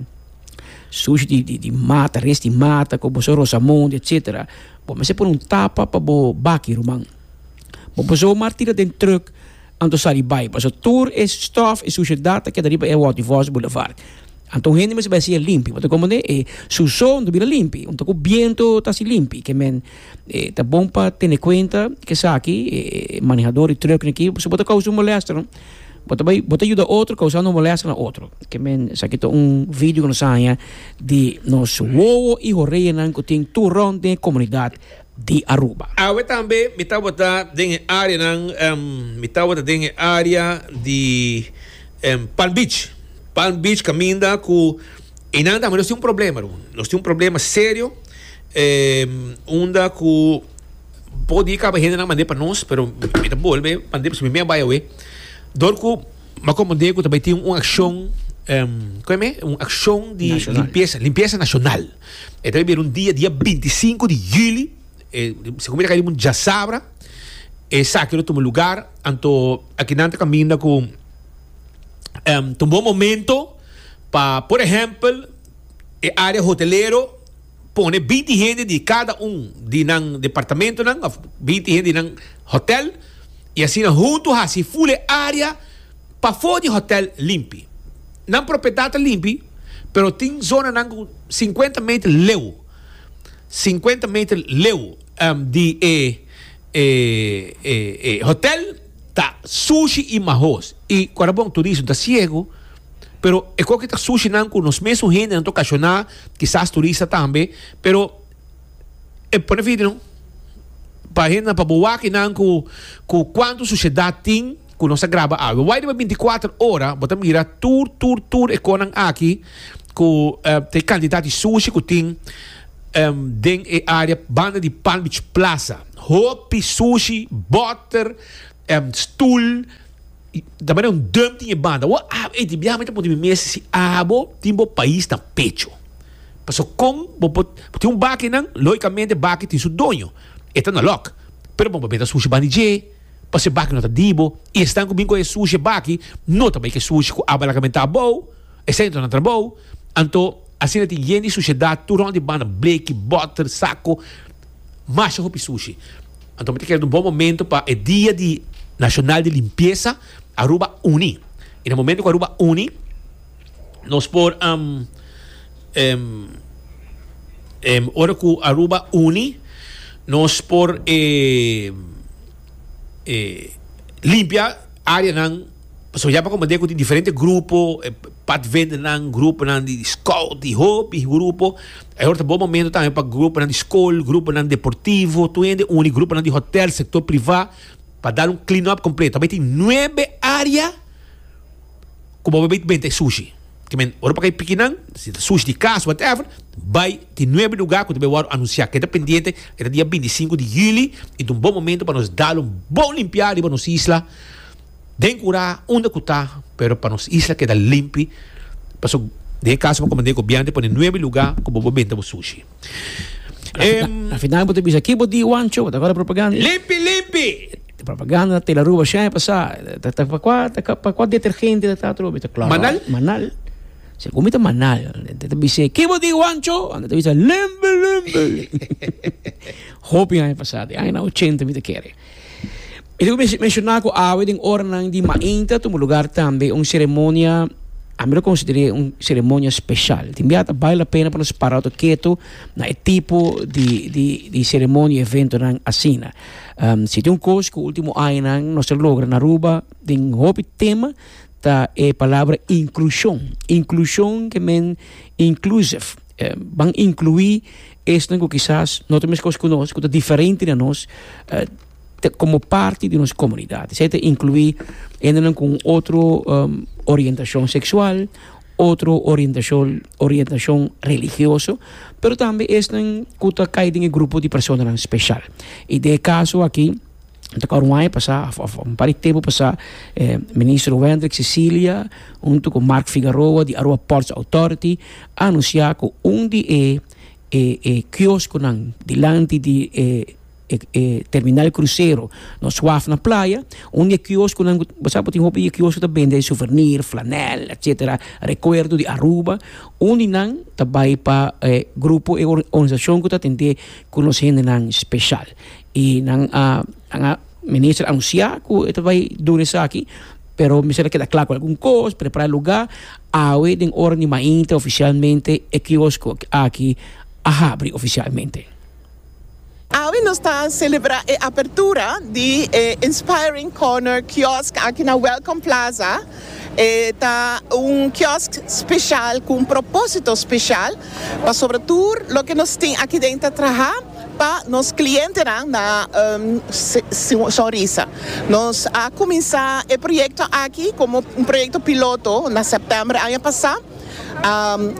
sushi di di di mata, res di mata ku bo sa rosamonde etcetera, bo mester pone un tapa pa bo baki ruman. Bo por zomaar tira den truck anto sali bay pasobra tur e stof e sushedat ta keda riba e wati vos boulevard. Anto un hende mester bai haci'e limpi. Bo ta comprende? E su so no ta bira limpi. Un ta cu biento ta haci limpi. Ke men e ta bon pa tene cuenta ke esaki e manehador di truck aki pasobra bo ta causa un molester no. Bo ta bai bo ta yuda otro causando molester na otro. Ke men esaki ta un video cu nos a haña di nos wowo y horeanan cu tin tur rond den e comunidad di Aruba. Awe tambe mi tabata den e areanan mi tabata den e area di Palm Beach. Palm Beach caminda cu einan tambe nos tin un problema ru. Nos tin un problema serio unda cu por di caba hendenan mande pa nos pero mi ta bolbe mande pasobra mi mea bay awe dor cu mi a comprende cu ta bay tin un accion como e me un accion di limpieza limpieza nacional e ta bay bira un dia dia binti sinku di juli segun mi ta cay riba un djasabra esaki lo tuma lugar anto akinan ta caminda cu Ta un bon momento pa, por ehempel, e area hotelero pone binti hende di cada un di nan departamentonan of binti hende di nan hotel y asina hunto haci full e area pafo di hotel limpi. Nan propiedad ta limpi, pero tin zonanan cu cincuenta meter leu, cincuenta meter leu di e e e hotel. Ta sushi i mahos. I ku ora bon turismo ta siegu, Pero e kos ta sushi nan ku nos mes hende nan ta okashoná, kisas turista tambe, pero e pone video pa hende pa bo wak nan ku ku kuantu sushedat tin ku nos a graba awe. Wak riba bintikuater ora, bo ta mira tur tur tur e konan aki ku uh, te kantidat di sushi ku tin um, den e área banda di Palm Beach Plaza. Hopi sushi, bòter, um, stul, tambe un dump tin e banda. Wa, ah, ei, di biaha mi ta puntra mi mes si abo tin bo pais na pecho. Paso kon bo por tin un baki nan, logicamente baki tin su doño. E ta na lòk. Pero bo benta sushi banda di dje, paso e baki no ta di bo, i esnan ku bin ku e sushi baki no ta bai ku e sushi ku abo a laga benta abou, esei no ta nan trabou. Anto asina tin yen di sushedat tur rònt di banda, bleki, bòter, sako. Masha hopi sushi. Anto mi ta kere un bon momento pa e dia di Nacional di Limpieza, Aruba uni. Y na momento cu Aruba uni, nos por um, um, um, ora cu Aruba uni, nos por eh, eh, limpia areanan. Pasobra ya pa komprendé ku tin diferente grupo, e padvindernan, gruponan di scout, di hopi grupo. E ora ta bon momento tambe pa gruponan di skol, gruponan deportivo, tur hende uni, gruponan di hotel, sektor privá, pa dal un clean up kompleto. Tabata tin nuebe área ku bo bai benta e sushi. Ke men, ora pa kai pikinan, si ta sushi di kas, whatever, bai tin nuebe lugá ku ta bai wòrdu anunsiá. Keda pendiente, e ta dia binti i sinku di yüli i ta un bon momento pa nos dal un bon limpiá riba nos isla. Den kura unda ku ta, pero pa nos isla keda limpi, paso den e kaso bo komand'é gobièrnu ta pone nuebe lugá ku bo por benta bo sushi. Na final bo ta bisa ki bo di Wancho, bo ta kòrda propaganda? Limpi limpi! Propaganda na Tele Aruba shai pasá, ta ta pa kua ta pa kua detergente ta ta atrobe? Ta kloro. Manal? Manal. Segun mi ta Manal. Ta bisa ki bo di Wancho? Anda ta bisa limpi limpi. Hopi aña pasá, den añanan ochenta mi ta kere. Mi ta menshoná ku awe den oranan di mainta tuma lugar tambe un seremonia, ami lo konsider'é un seremonia speshal. Tin bia ta bale la pena pa nos para oto ketu na e tipo di di di seremonia i eventonan asina. Si tin un kos ku último añanan nos a logra na Aruba den hopi tema ta e palabra inklushon. Inklushon ke men inclusive. Ban inkluí esnan ku kisas no ta meskos ku nos, ku ta diferente na nos. Komo parti di nos komunidat. Esei ta inkluí hendenan ku un otro orientashon seksual, otro orientashon orientashon religioso, pero tambe esnan ku ta kai den e grupo di personanan speshal. I den e kaso aki, ta kòrda un aña pasá òf un par di tempu pasá, Minister Wendrick Cecilia huntu ku Mark Figaroa di Aruba Ports Authority a anunsiá ku un di e e kioskonan dilanti di e e terminal krusero nos waf na playa, un di e kioskonan ku bo sa bo tin hopi di e kiosko ta bende souvenir, flanèl etsetera, rekuerdo di Aruba, un di nan ta bai pa e grupo e organisashon ku ta atendé ku nos hendenan speshal. I nan a nan a minister a anunsiá ku e ta bai duna esaki, pero mester a keda kla ku algun kos, prepará e lugá. Awe den ora di mainta ofisialmente e kiosko aki a habri ofisialmente. Awe nos ta celebra e apertura di e Inspiring Corner Kiosk aki na Welcome Plaza. E ta un kiosk special cu un proposito special, pasobra tur loke nos tin aki den ta traha pa nos clientenan na sonrisa. Nos a cuminsa e proyecto aki como un proyecto piloto na september aña pasa.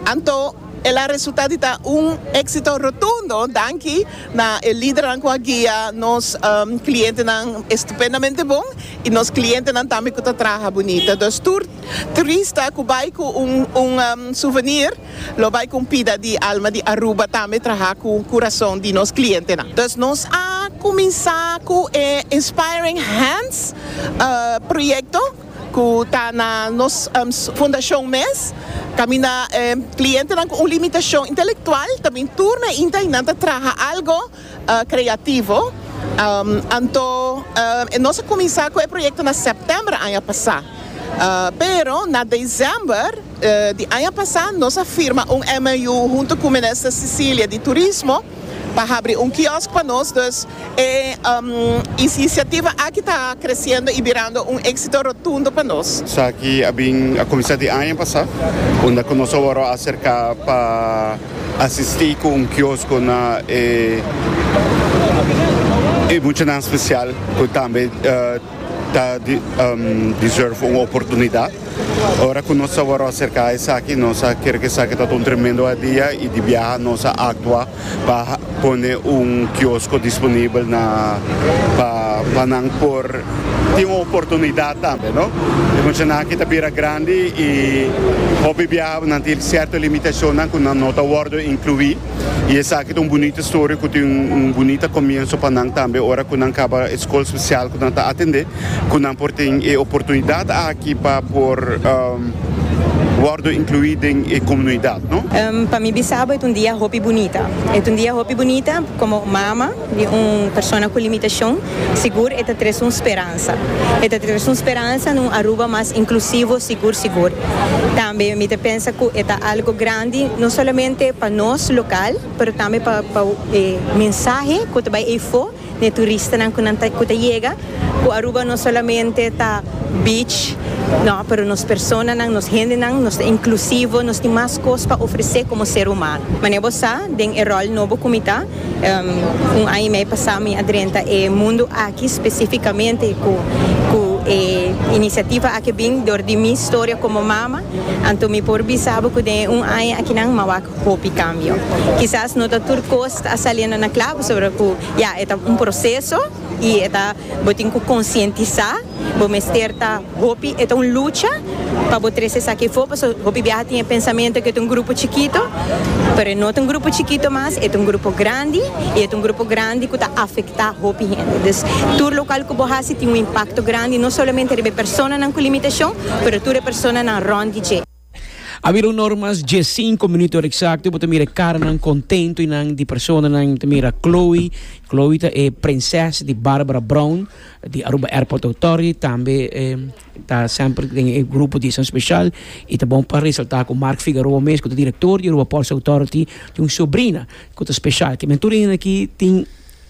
Anto el a resulta di ta un éxito rotundo danki na e lidernan cu a guia nos clientenan estupendamente bon y nos clientenan tambe cu ta traha bunita. Dus tur turista cu bay cu un un souvenir lo bay cu un pida di alma di Aruba tambe traha cu curason di nos clientenan. Dus nos a cuminsa cu e Inspiring Hands proyecto. Ku ta na nos fundashon mes, kaminda e klientenan ku un limitashon intelektual ta bin tur na inta i nan ta traha algo kreativo. Anto nos a kuminsá ku e proyekto na sèptèmber aña pasá, pero na desèmber di aña pasá nos a firma un M O U huntu ku Minister Cecilia di Turismo. Pa habri un kiosk pa nos, dus e um, iniciativa aki ta creciendo y birando un exito rotundo pa nos. Esaki a bin a cuminsa di aña pasa, unda cu nos a wordo acerca pa asisti cu un kiosk na eh, e muchanan special cu tambe uh, ta di, um, deserve un oportunidad. Ora cu nos a wordo acerca esaki, nos a kere cu esaki ta un tremendo idea y di biaha nos a actua pa pone un kiosk disponibel na pa pa nan por tin un oportunidad tambe, no? E muchanan aki ta bira grandi y hopi biaha nan tin cierto limitacion cu nan no ta wordo inclui y esaki ta un bunita historia cu tin un, un bunita comienso pa nan tambe ora cu nan caba scol special cu nan ta atende cu nan por tin e oportunidad aki pa por um, wordo inclui den e comunidad, no? Um, pa mi bisa bo, e un dia hopi bunita. E un dia hopi bunita como mama di un persona cu limitacion, sigur e ta trece un speransa. E ta trece un speransa na un Aruba mas inclusivo, sigur, sigur. Tambe mi ta pensa cu ta algo grandi, no solamente pa nos local, pero tambe pa pa eh, mensahe cu ta bay eyfo, na turistanan cu cu ta yega, cu Aruba no solamente ta beach, no, pero nos personanan, nos hendenan, nos ta inclusivo, nos tin mas cos pa ofrece como ser humano. Manera bo sa, den e rol nobo cu mi ta, um, un aña y mey pasa mi a drenta e mundo aki specificamente cu cu e iniciativa aki bin door di mi historia como mama, anto mi por bisa bo cu den un aña akinan m'a wak hopi cambio. Kisas no ta tur cos ta saliendo na cla, sobre cu ja, e un proceso y ta bo tin cu concientisa, bo mester ta hopi, e un lucha pa bo trece esaki afo, so hopi biaha tin pensamento cu ta un grupo chikito, pero no ta un grupo chikito mas, e un grupo grandi y e un grupo grandi cu ta afecta hopi hende. Dus tur local cu bo haci tin un impacto grandi, no solamente riba personanan cu limitacion, pero tur personanan rond di dje. A bira un or mas diescinco minuut exacto, bo ta mira caranan contento nan di personanan, ta mira Chloe, Chloe ta e prinses di Barbara Brown di Aruba Airport Authority, tambe eh, ta semper den e grupo di san special y ta bon pa resalta cu Mark Figueroa mes, cu ta director di Aruba Ports Authority, tin un sobrina cu ta special, kiermen tur aki tin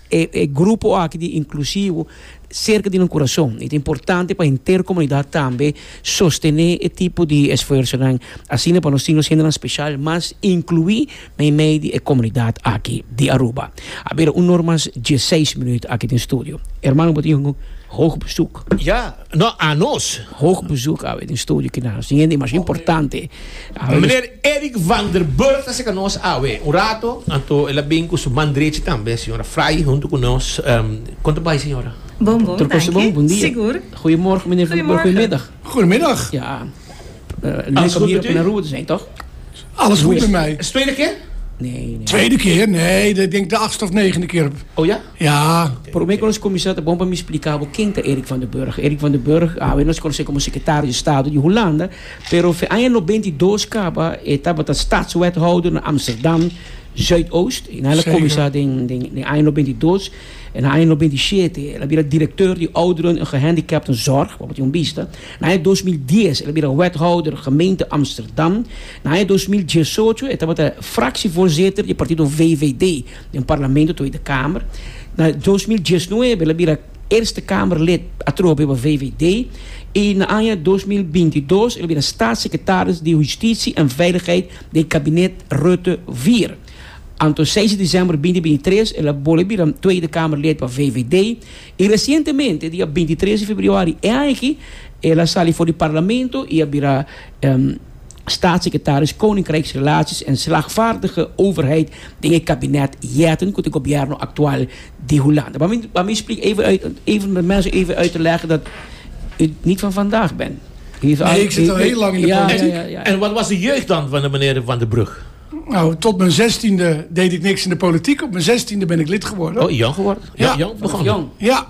e, e grupo aki di inclusivo cerca di un curason. Y ta importante pa henter comunidad tambe sostene e tipo di esfuerso asina pa nos tin siendo special, mas inclui mey di e comunidad aki di Aruba. A bira un or mas diesseis minuut aki den studio. Hermano, bo tin un hoog bezoek. Ja, no, a nos. Hoog bezoek awe den studio aki na. Siguiente, mas importante. Meneer Eric van der Burg ta cu nos awe. Un rato, anto el a bin cu su man drechi tambe, señora Fry, hunto cu nos. Um, con ta bay, señora? Bon, bon, dank je. Bon dia. Sigur. Goedemorgen, meneer Van der Burg. Goedemiddag. Goedemiddag. Ja. Uh, leuk om hier op Aruba te zijn, toch? Alles goed met mij. Is het tweede keer? Nee, nee. Tweede keer? Nee, ik denk de achtste of negende keer. Oh ja? Ja. Okay. Prome cu nos cuminsa, bon pa mi splica ken ta Eric van der Burg. Eric van der Burg, ah, nos conoce como secretario di Estado di Hulanda, pero na aña nobenta y dos caba, tabata stadswethouder na Amsterdam Zuidoost. En el a cuminsa den, den, den aña nobenta y dos. En aña nobenta y siete, el a bira directeur di ouderen en gehandicaptenzorg, wat un bista. Na tweeduizend dies, el a bira wethouder gemeente Amsterdam. Na tweeduizend diesocho, e tabata fractievoorzitter di partido V V D den parlamento Tweede Kamer. Na tweeduizend diesnuebe, el a bira Eerste Kamerlid atrobe pa V V D. Y na aña tweeduizend bintidos, el a bira staatssecretaris di Justitie en Veiligheid den kabinet Rutte vier. Anto seis di december di binti bintitres, el a bolbe bira Tweede Kamerlid pa V V D. Y recientemente, dia bintitres di februari, eigenlijk, el a sali for di parlamento y a bira um, staatssecretaris Koninkrijksrelaties en slagvaardige overheid den het kabinet Jetten, cu e gobierno actual di Hulanda. Maar mi, maar mi explica even, uit, even met mensen even uit te leggen dat u niet van vandaag bent. Nee, ik zit al heel lang in de ja, politiek. Ja, ja, ja. En wat was de jeugd dan van de meneer Van der Brug? Nou, tot mijn zestiende deed ik niks in de politiek. Op mijn zestiende ben ik lid geworden. Oh, jong geworden? Ja, jong begonnen. Jong. Ja.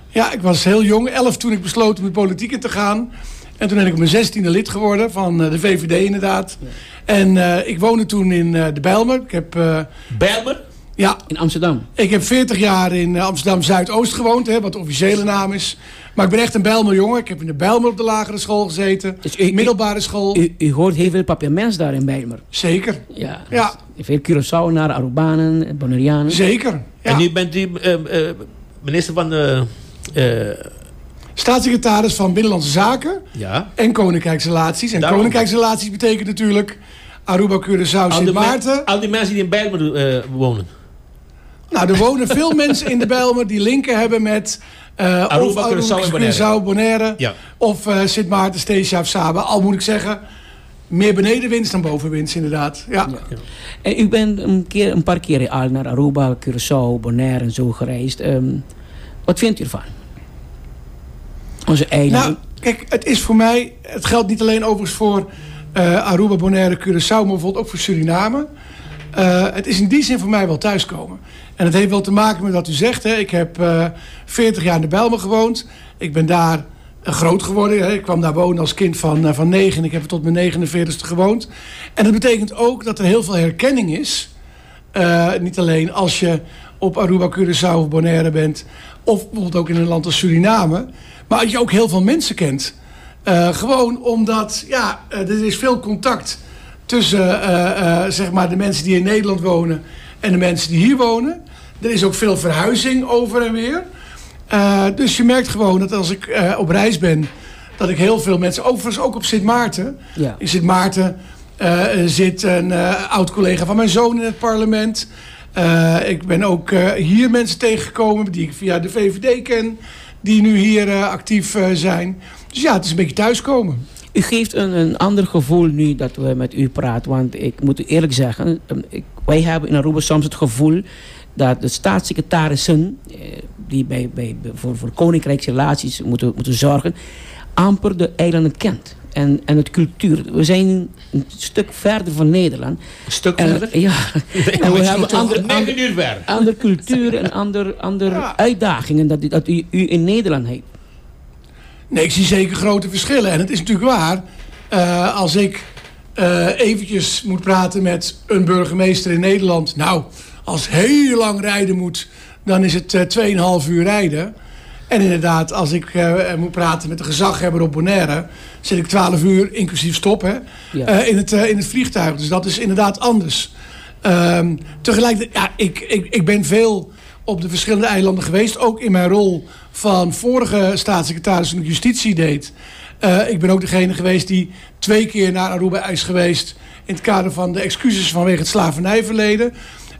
Ja, ik was heel jong. Elf toen ik besloot om de politiek in te gaan. En toen ben ik op mijn zestiende lid geworden van eh, de V V D inderdaad. En uh, ik woonde toen in uh, de Bijlmer. Ik heb, uh, Bijlmer? Ja. In Amsterdam? Ik heb veertig jaar in Amsterdam Zuidoost gewoond, hè, wat de officiële naam is. Maar ik ben echt een Bijlmer jongen. Ik heb in de Bijlmer op de lagere school gezeten. Dus u, middelbare school. U, u hoort heel veel Papiaments daar in Bijlmer. Zeker. Ja. Ja. Veel Curaçaoenaren, Arubanen, Bonaireanen. Zeker. Ja. En nu bent u uh, uh, minister van de... Uh, Staatssecretaris van Binnenlandse Zaken ja. en Koninkrijksrelaties. En Daarom. Koninkrijksrelaties betekent natuurlijk Aruba, Curaçao, Sint Maarten. Al die mensen die in Bijlmer uh, wonen. Nou, er wonen veel mensen in de Bijlmer die linken hebben met uh, Aruba, of Curaçao en Bonaire. Curaçao, Bonaire ja. Of uh, Sint Maarten, Statia of Saba. Al moet ik zeggen, meer benedenwinds dan bovenwinds inderdaad. Ja. Ja. En u bent een, keer, een paar keer al naar Aruba, Curaçao, Bonaire en zo gereisd. Um, wat vindt u ervan? Onze eilanden. Nou, kijk, het is voor mij... Het geldt niet alleen overigens voor uh, Aruba, Bonaire, Curaçao, maar bijvoorbeeld ook voor Suriname. Uh, het is in die zin voor mij wel thuiskomen. En het heeft wel te maken met wat u zegt. Hè. Ik heb uh, veertig jaar in de Bijlmer gewoond. Ik ben daar groot geworden. Hè. Ik kwam daar wonen als kind van, uh, van negen. En ik heb er tot mijn negenenveertigste gewoond. En dat betekent ook dat er heel veel herkenning is. Uh, niet alleen als je op Aruba, Curaçao of Bonaire bent. Of bijvoorbeeld ook in een land als Suriname. Maar dat je ook heel veel mensen kent. Uh, gewoon omdat, ja, er is veel contact tussen uh, uh, zeg maar de mensen die in Nederland wonen en de mensen die hier wonen. Er is ook veel verhuizing over en weer. Uh, dus je merkt gewoon dat als ik uh, op reis ben, dat ik heel veel mensen, overigens ook op Sint Maarten. Ja. In Sint Maarten uh, zit een uh, oud-collega van mijn zoon in het parlement. Uh, ik ben ook uh, hier mensen tegengekomen die ik via de V V D ken, die nu hier uh, actief uh, zijn. Dus ja, het is een beetje thuiskomen. U geeft een, een ander gevoel nu dat we met u praten. Want ik moet u eerlijk zeggen, ik, wij hebben in Aruba soms het gevoel dat de staatssecretarissen, die bij, bij, voor, voor koninkrijksrelaties moeten, moeten zorgen, amper de eilanden kent. En, en het cultuur. We zijn een stuk verder van Nederland. Een stuk en, verder? Ja. Nee, en we hebben andere, negen uur ver. andere cultuur en andere ander ja. uitdagingen dat, dat u, u in Nederland heeft. Nee, ik zie zeker grote verschillen. En het is natuurlijk waar, uh, als ik uh, eventjes moet praten met een burgemeester in Nederland. Nou, als heel lang rijden moet, dan is het uh, tweeënhalf uur rijden. En inderdaad, als ik uh, moet praten met de gezaghebber op Bonaire, zit ik twaalf uur, inclusief stop, hè, ja. uh, in, het, uh, in het vliegtuig. Dus dat is inderdaad anders. Um, tegelijkertijd, ja, ik, ik, ik ben veel op de verschillende eilanden geweest. Ook in mijn rol van vorige staatssecretaris toen ik justitie deed. Uh, ik ben ook degene geweest die twee keer naar Aruba is geweest in het kader van de excuses vanwege het slavernijverleden.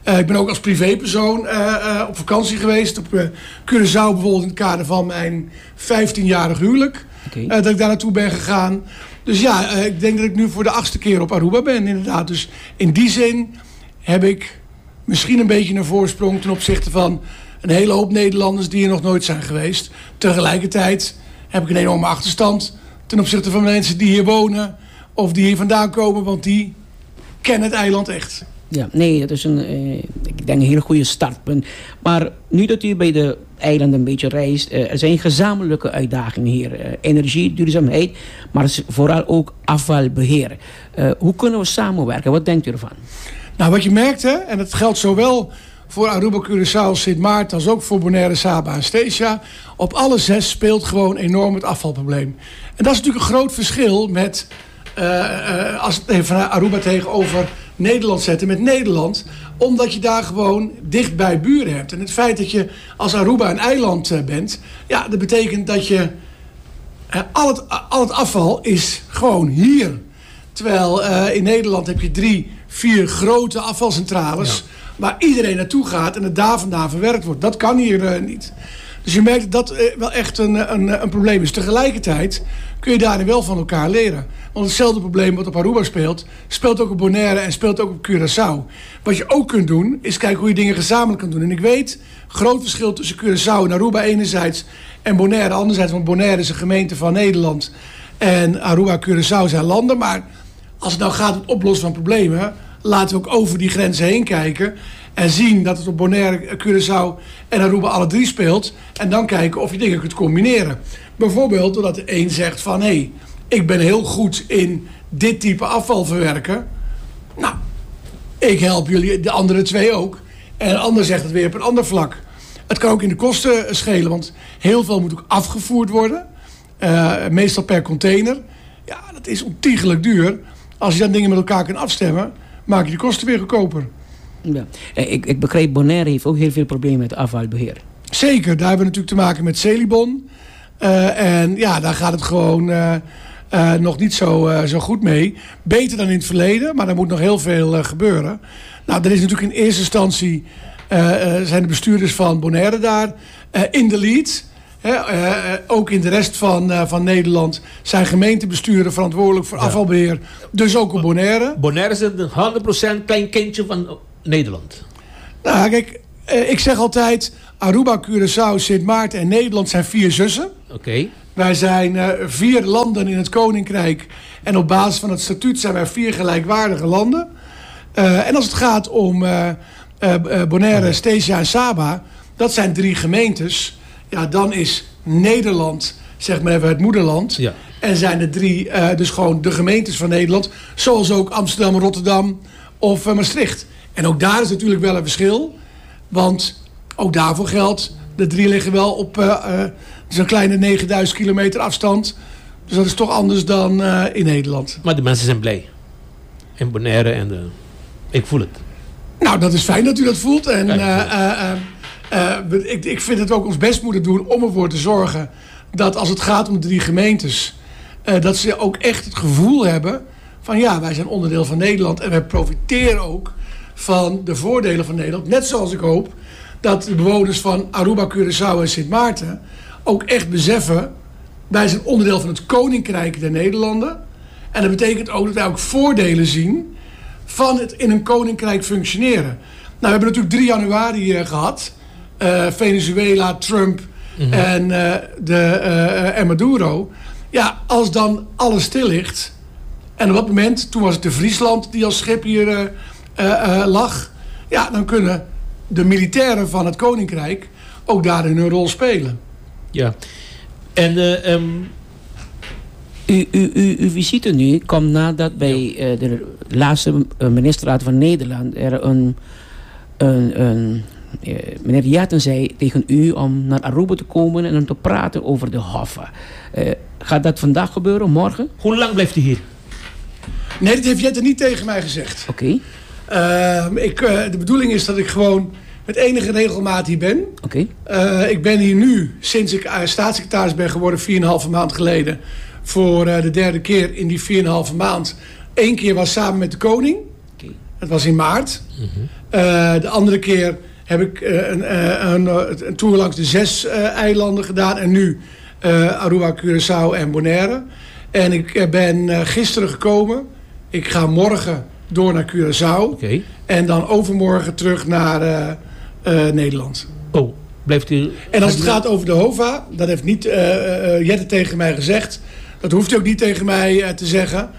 Uh, ik ben ook als privépersoon uh, uh, op vakantie geweest. Op uh, Curaçao bijvoorbeeld in het kader van mijn vijftienjarig huwelijk. Okay. Uh, dat ik daar naartoe ben gegaan. Dus ja, uh, ik denk dat ik nu voor de achtste keer op Aruba ben inderdaad. Dus in die zin heb ik misschien een beetje een voorsprong ten opzichte van een hele hoop Nederlanders die er nog nooit zijn geweest. Tegelijkertijd heb ik een enorme achterstand ten opzichte van mensen die hier wonen of die hier vandaan komen, want die kennen het eiland echt. Ja, nee, dat is een, eh, ik denk een hele goede startpunt. Maar nu dat u bij de eilanden een beetje reist, eh, er zijn gezamenlijke uitdagingen hier. Eh, energie, duurzaamheid, maar vooral ook afvalbeheer. Eh, hoe kunnen we samenwerken? Wat denkt u ervan? Nou, wat je merkt, hè, en dat geldt zowel voor Aruba, Curaçao, Sint Maarten als ook voor Bonaire, Saba en Statia. Op alle zes speelt gewoon enorm het afvalprobleem. En dat is natuurlijk een groot verschil met uh, uh, als het even Aruba tegenover Nederland zetten met Nederland. Omdat je daar gewoon dicht bij buren hebt. En het feit dat je als Aruba een eiland uh, bent, ja, dat betekent dat je uh, al het, al het afval is gewoon hier. Terwijl uh, in Nederland heb je drie, vier grote afvalcentrales, ja, waar iedereen naartoe gaat en het daar vandaan verwerkt wordt. Dat kan hier uh, niet. Dus je merkt dat dat uh, wel echt een, een, een probleem is. Tegelijkertijd kun je daarin wel van elkaar leren. Want hetzelfde probleem wat op Aruba speelt, speelt ook op Bonaire en speelt ook op Curaçao. Wat je ook kunt doen, is kijken hoe je dingen gezamenlijk kan doen. En ik weet, groot verschil tussen Curaçao en Aruba enerzijds en Bonaire anderzijds. Want Bonaire is een gemeente van Nederland en Aruba en Curaçao zijn landen. Maar als het nou gaat om het oplossen van problemen, laten we ook over die grenzen heen kijken en zien dat het op Bonaire, Curaçao en Aruba alle drie speelt. En dan kijken of je dingen kunt combineren. Bijvoorbeeld doordat de een zegt van, hé, hey, ik ben heel goed in dit type afval verwerken. Nou, ik help jullie, de andere twee ook. En een ander zegt het weer op een ander vlak. Het kan ook in de kosten schelen, want heel veel moet ook afgevoerd worden. Uh, meestal per container. Ja, dat is ontiegelijk duur. Als je dan dingen met elkaar kunt afstemmen, maak je de kosten weer goedkoper. Ja. Ik, ik begrijp, Bonaire heeft ook heel veel problemen met afvalbeheer. Zeker, daar hebben we natuurlijk te maken met Selibon. Uh, en ja, daar gaat het gewoon uh, uh, nog niet zo, uh, zo goed mee. Beter dan in het verleden, maar er moet nog heel veel uh, gebeuren. Nou, er is natuurlijk in eerste instantie... Uh, uh, zijn de bestuurders van Bonaire daar uh, in de lead. He, uh, ook in de rest van, uh, van Nederland zijn gemeentebesturen verantwoordelijk voor ja. afvalbeheer. Dus ook op Bonaire. Bonaire is een honderd procent klein kindje van Nederland. Nou, kijk, uh, ik zeg altijd... Aruba, Curaçao, Sint Maarten en Nederland zijn vier zussen. Oké. Okay. Wij zijn uh, vier landen in het Koninkrijk. En op basis van het statuut zijn wij vier gelijkwaardige landen. Uh, en als het gaat om uh, uh, Bonaire, Statia en Saba... dat zijn drie gemeentes. Ja, dan is Nederland, zeg maar even, het moederland. Ja. En zijn de drie uh, dus gewoon de gemeentes van Nederland. Zoals ook Amsterdam, Rotterdam of uh, Maastricht. En ook daar is natuurlijk wel een verschil. Want... ook daarvoor geldt, de drie liggen wel op uh, uh, zo'n kleine negenduizend kilometer afstand. Dus dat is toch anders dan uh, in Nederland. Maar de mensen zijn blij. In Bonaire en de... ik voel het. Nou, dat is fijn dat u dat voelt. En uh, uh, uh, uh, ik, ik vind dat we ook ons best moeten doen om ervoor te zorgen... dat als het gaat om de drie gemeentes... Uh, dat ze ook echt het gevoel hebben van ja, wij zijn onderdeel van Nederland... en wij profiteren ook van de voordelen van Nederland. Net zoals ik hoop... dat de bewoners van Aruba, Curaçao en Sint Maarten ook echt beseffen... wij zijn onderdeel van het Koninkrijk der Nederlanden. En dat betekent ook dat wij ook voordelen zien... van het in een koninkrijk functioneren. Nou, we hebben natuurlijk drie januari uh, gehad. Uh, Venezuela, Trump mm-hmm. en, uh, de, uh, en Maduro. Ja, als dan alles stil ligt... en op dat moment, toen was het de Friesland die als schip hier uh, uh, uh, lag... ja, dan kunnen... de militairen van het Koninkrijk ook daarin hun rol spelen. Ja. En uh, um... u, u, u, uw visite nu komt nadat bij uh, de laatste ministerraad van Nederland er een, een, een uh, meneer Jetten zei tegen u om naar Aruba te komen en om te praten over de Hoffa. Uh, gaat dat vandaag gebeuren, morgen? Hoe lang blijft u hier? Nee, dat heeft Jetten niet tegen mij gezegd. Oké. Okay. Uh, ik, uh, de bedoeling is dat ik gewoon met enige regelmaat hier ben. Okay. Uh, ik ben hier nu, sinds ik uh, staatssecretaris ben geworden, vier en een halve maand geleden, voor uh, de derde keer in die vier en een halve maand. Eén keer was samen met de koning. Okay. Dat was in maart. Mm-hmm. Uh, de andere keer heb ik uh, een, een, een, een tour langs de zes uh, eilanden gedaan. En nu uh, Aruba, Curaçao en Bonaire. En ik ben uh, gisteren gekomen. Ik ga morgen door naar Curaçao. Okay. En dan overmorgen terug naar uh, uh, Nederland. Oh, blijft u... En als het gaat over de HOVA, dat heeft niet uh, uh, Jette tegen mij gezegd. Dat hoeft hij ook niet tegen mij uh, te zeggen.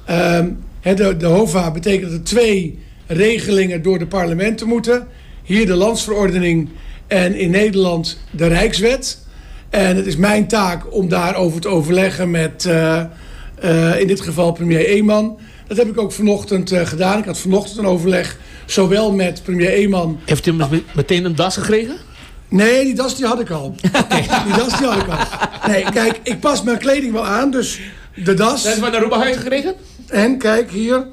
Um, he, de, de HOVA betekent dat er twee regelingen door de parlementen moeten. Hier de landsverordening en in Nederland de Rijkswet. En het is mijn taak om daarover te overleggen met, uh, uh, in dit geval premier Eman. Dat heb ik ook vanochtend uh, gedaan. Ik had vanochtend een overleg, zowel met premier Eman... Heeft u meteen een das gekregen? Nee, die das die had ik al. Okay. Die das die had ik al. Nee, kijk, ik pas mijn kleding wel aan, dus de das... Dat is van Aruba huis gekregen? En kijk, hier,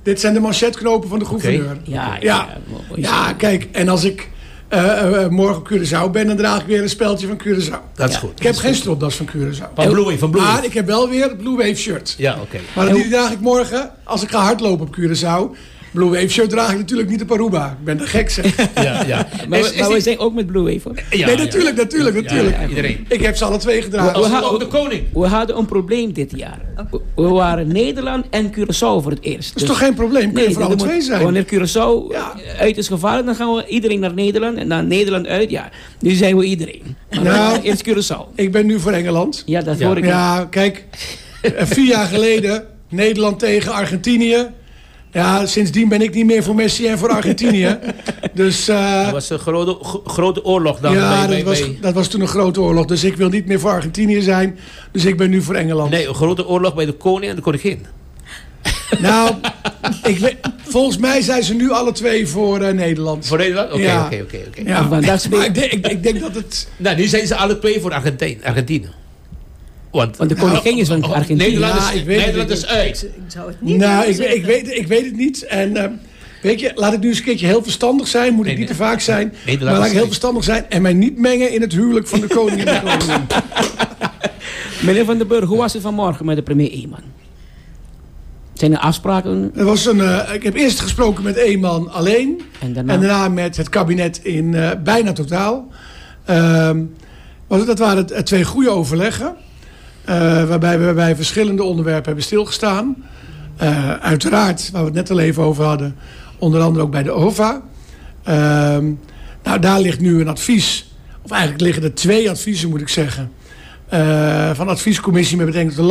dit zijn de manchetknopen van de gouverneur. Okay. Ja, ja, ja. Ja, kijk, en als ik uh, uh, morgen op Curaçao ben, dan draag ik weer een speldje van Curaçao. Dat is ja. goed. Ik heb geen stropdas van Curaçao. Van Blue Wave, van Blue Wave. Maar ik heb wel weer het Blue Wave shirt. Ja, oké. Okay. Maar die draag ik morgen, als ik ga hardlopen op Curaçao. Blue Wave shirt draag ik natuurlijk niet op Aruba. Ik ben de gek, zeg. Ja, ja. Maar, is, is maar we die... zijn ook met Blue Wave, hoor. Ja, nee, natuurlijk, ja. natuurlijk, ja, natuurlijk. Ja, iedereen. Ik heb ze alle twee gedragen. We, we, ook de koning. We hadden een probleem dit jaar. We waren Nederland en Curaçao voor het eerst. Dat is dus, toch geen probleem? Kun je voor alle twee zijn? Wanneer Curaçao ja. uit is gevallen, dan gaan we iedereen naar Nederland. En dan Nederland uit, ja. Nu zijn we iedereen. Maar nou, eerst Curaçao. Ik ben nu voor Engeland. Ja, dat ja. hoor ik. Ja, kijk. Vier jaar geleden, Nederland tegen Argentinië. Ja, sindsdien ben ik niet meer voor Messi en voor Argentinië. Dus, uh, dat was een grote, grote oorlog dan. Ja, bij, dat, bij, was, bij... dat was toen een grote oorlog. Dus ik wil niet meer voor Argentinië zijn. Dus ik ben nu voor Engeland. Nee, een grote oorlog bij de koning en de koningin. Nou, ik weet, volgens mij zijn ze nu alle twee voor eh, Nederland. Voor Nederland? Oké, Ja. oké, oké. oké. Ja. Vandaag speel- Maar ik, denk, ik, ik denk dat het... Nou, nu zijn ze alle twee voor Argentijn, Argentinië. Want, Want de koningin is van Argentinië. Nederland Ja, is, ik weet het Nederland niet. is uit. Ik zou het niet Nou, durven ik, ik, zeggen. weet, ik weet het niet. En eh, weet je, laat ik nu eens een keertje heel verstandig zijn. Moet ik Nee, niet te nee. vaak zijn. Nederland Maar laat is ik heel uit. verstandig zijn en mij niet mengen in het huwelijk van de koning en de koningin. Meneer Van den Burg, hoe was het vanmorgen met de premier Eman? Zijn er afspraken? Er was een, eh, ik heb eerst gesproken met Eman alleen. En daarna? En daarna met het kabinet in eh, bijna totaal. Ehm, want dat waren het- twee goede overleggen. eh, waarbij we bij verschillende onderwerpen hebben stilgestaan. Eh, uiteraard, waar we het net al even over hadden. Onder andere ook bij de O V A. Ehm, nou, daar ligt nu een advies. Of eigenlijk liggen er twee adviezen, moet ik zeggen. eh, van de adviescommissie met betrekking tot de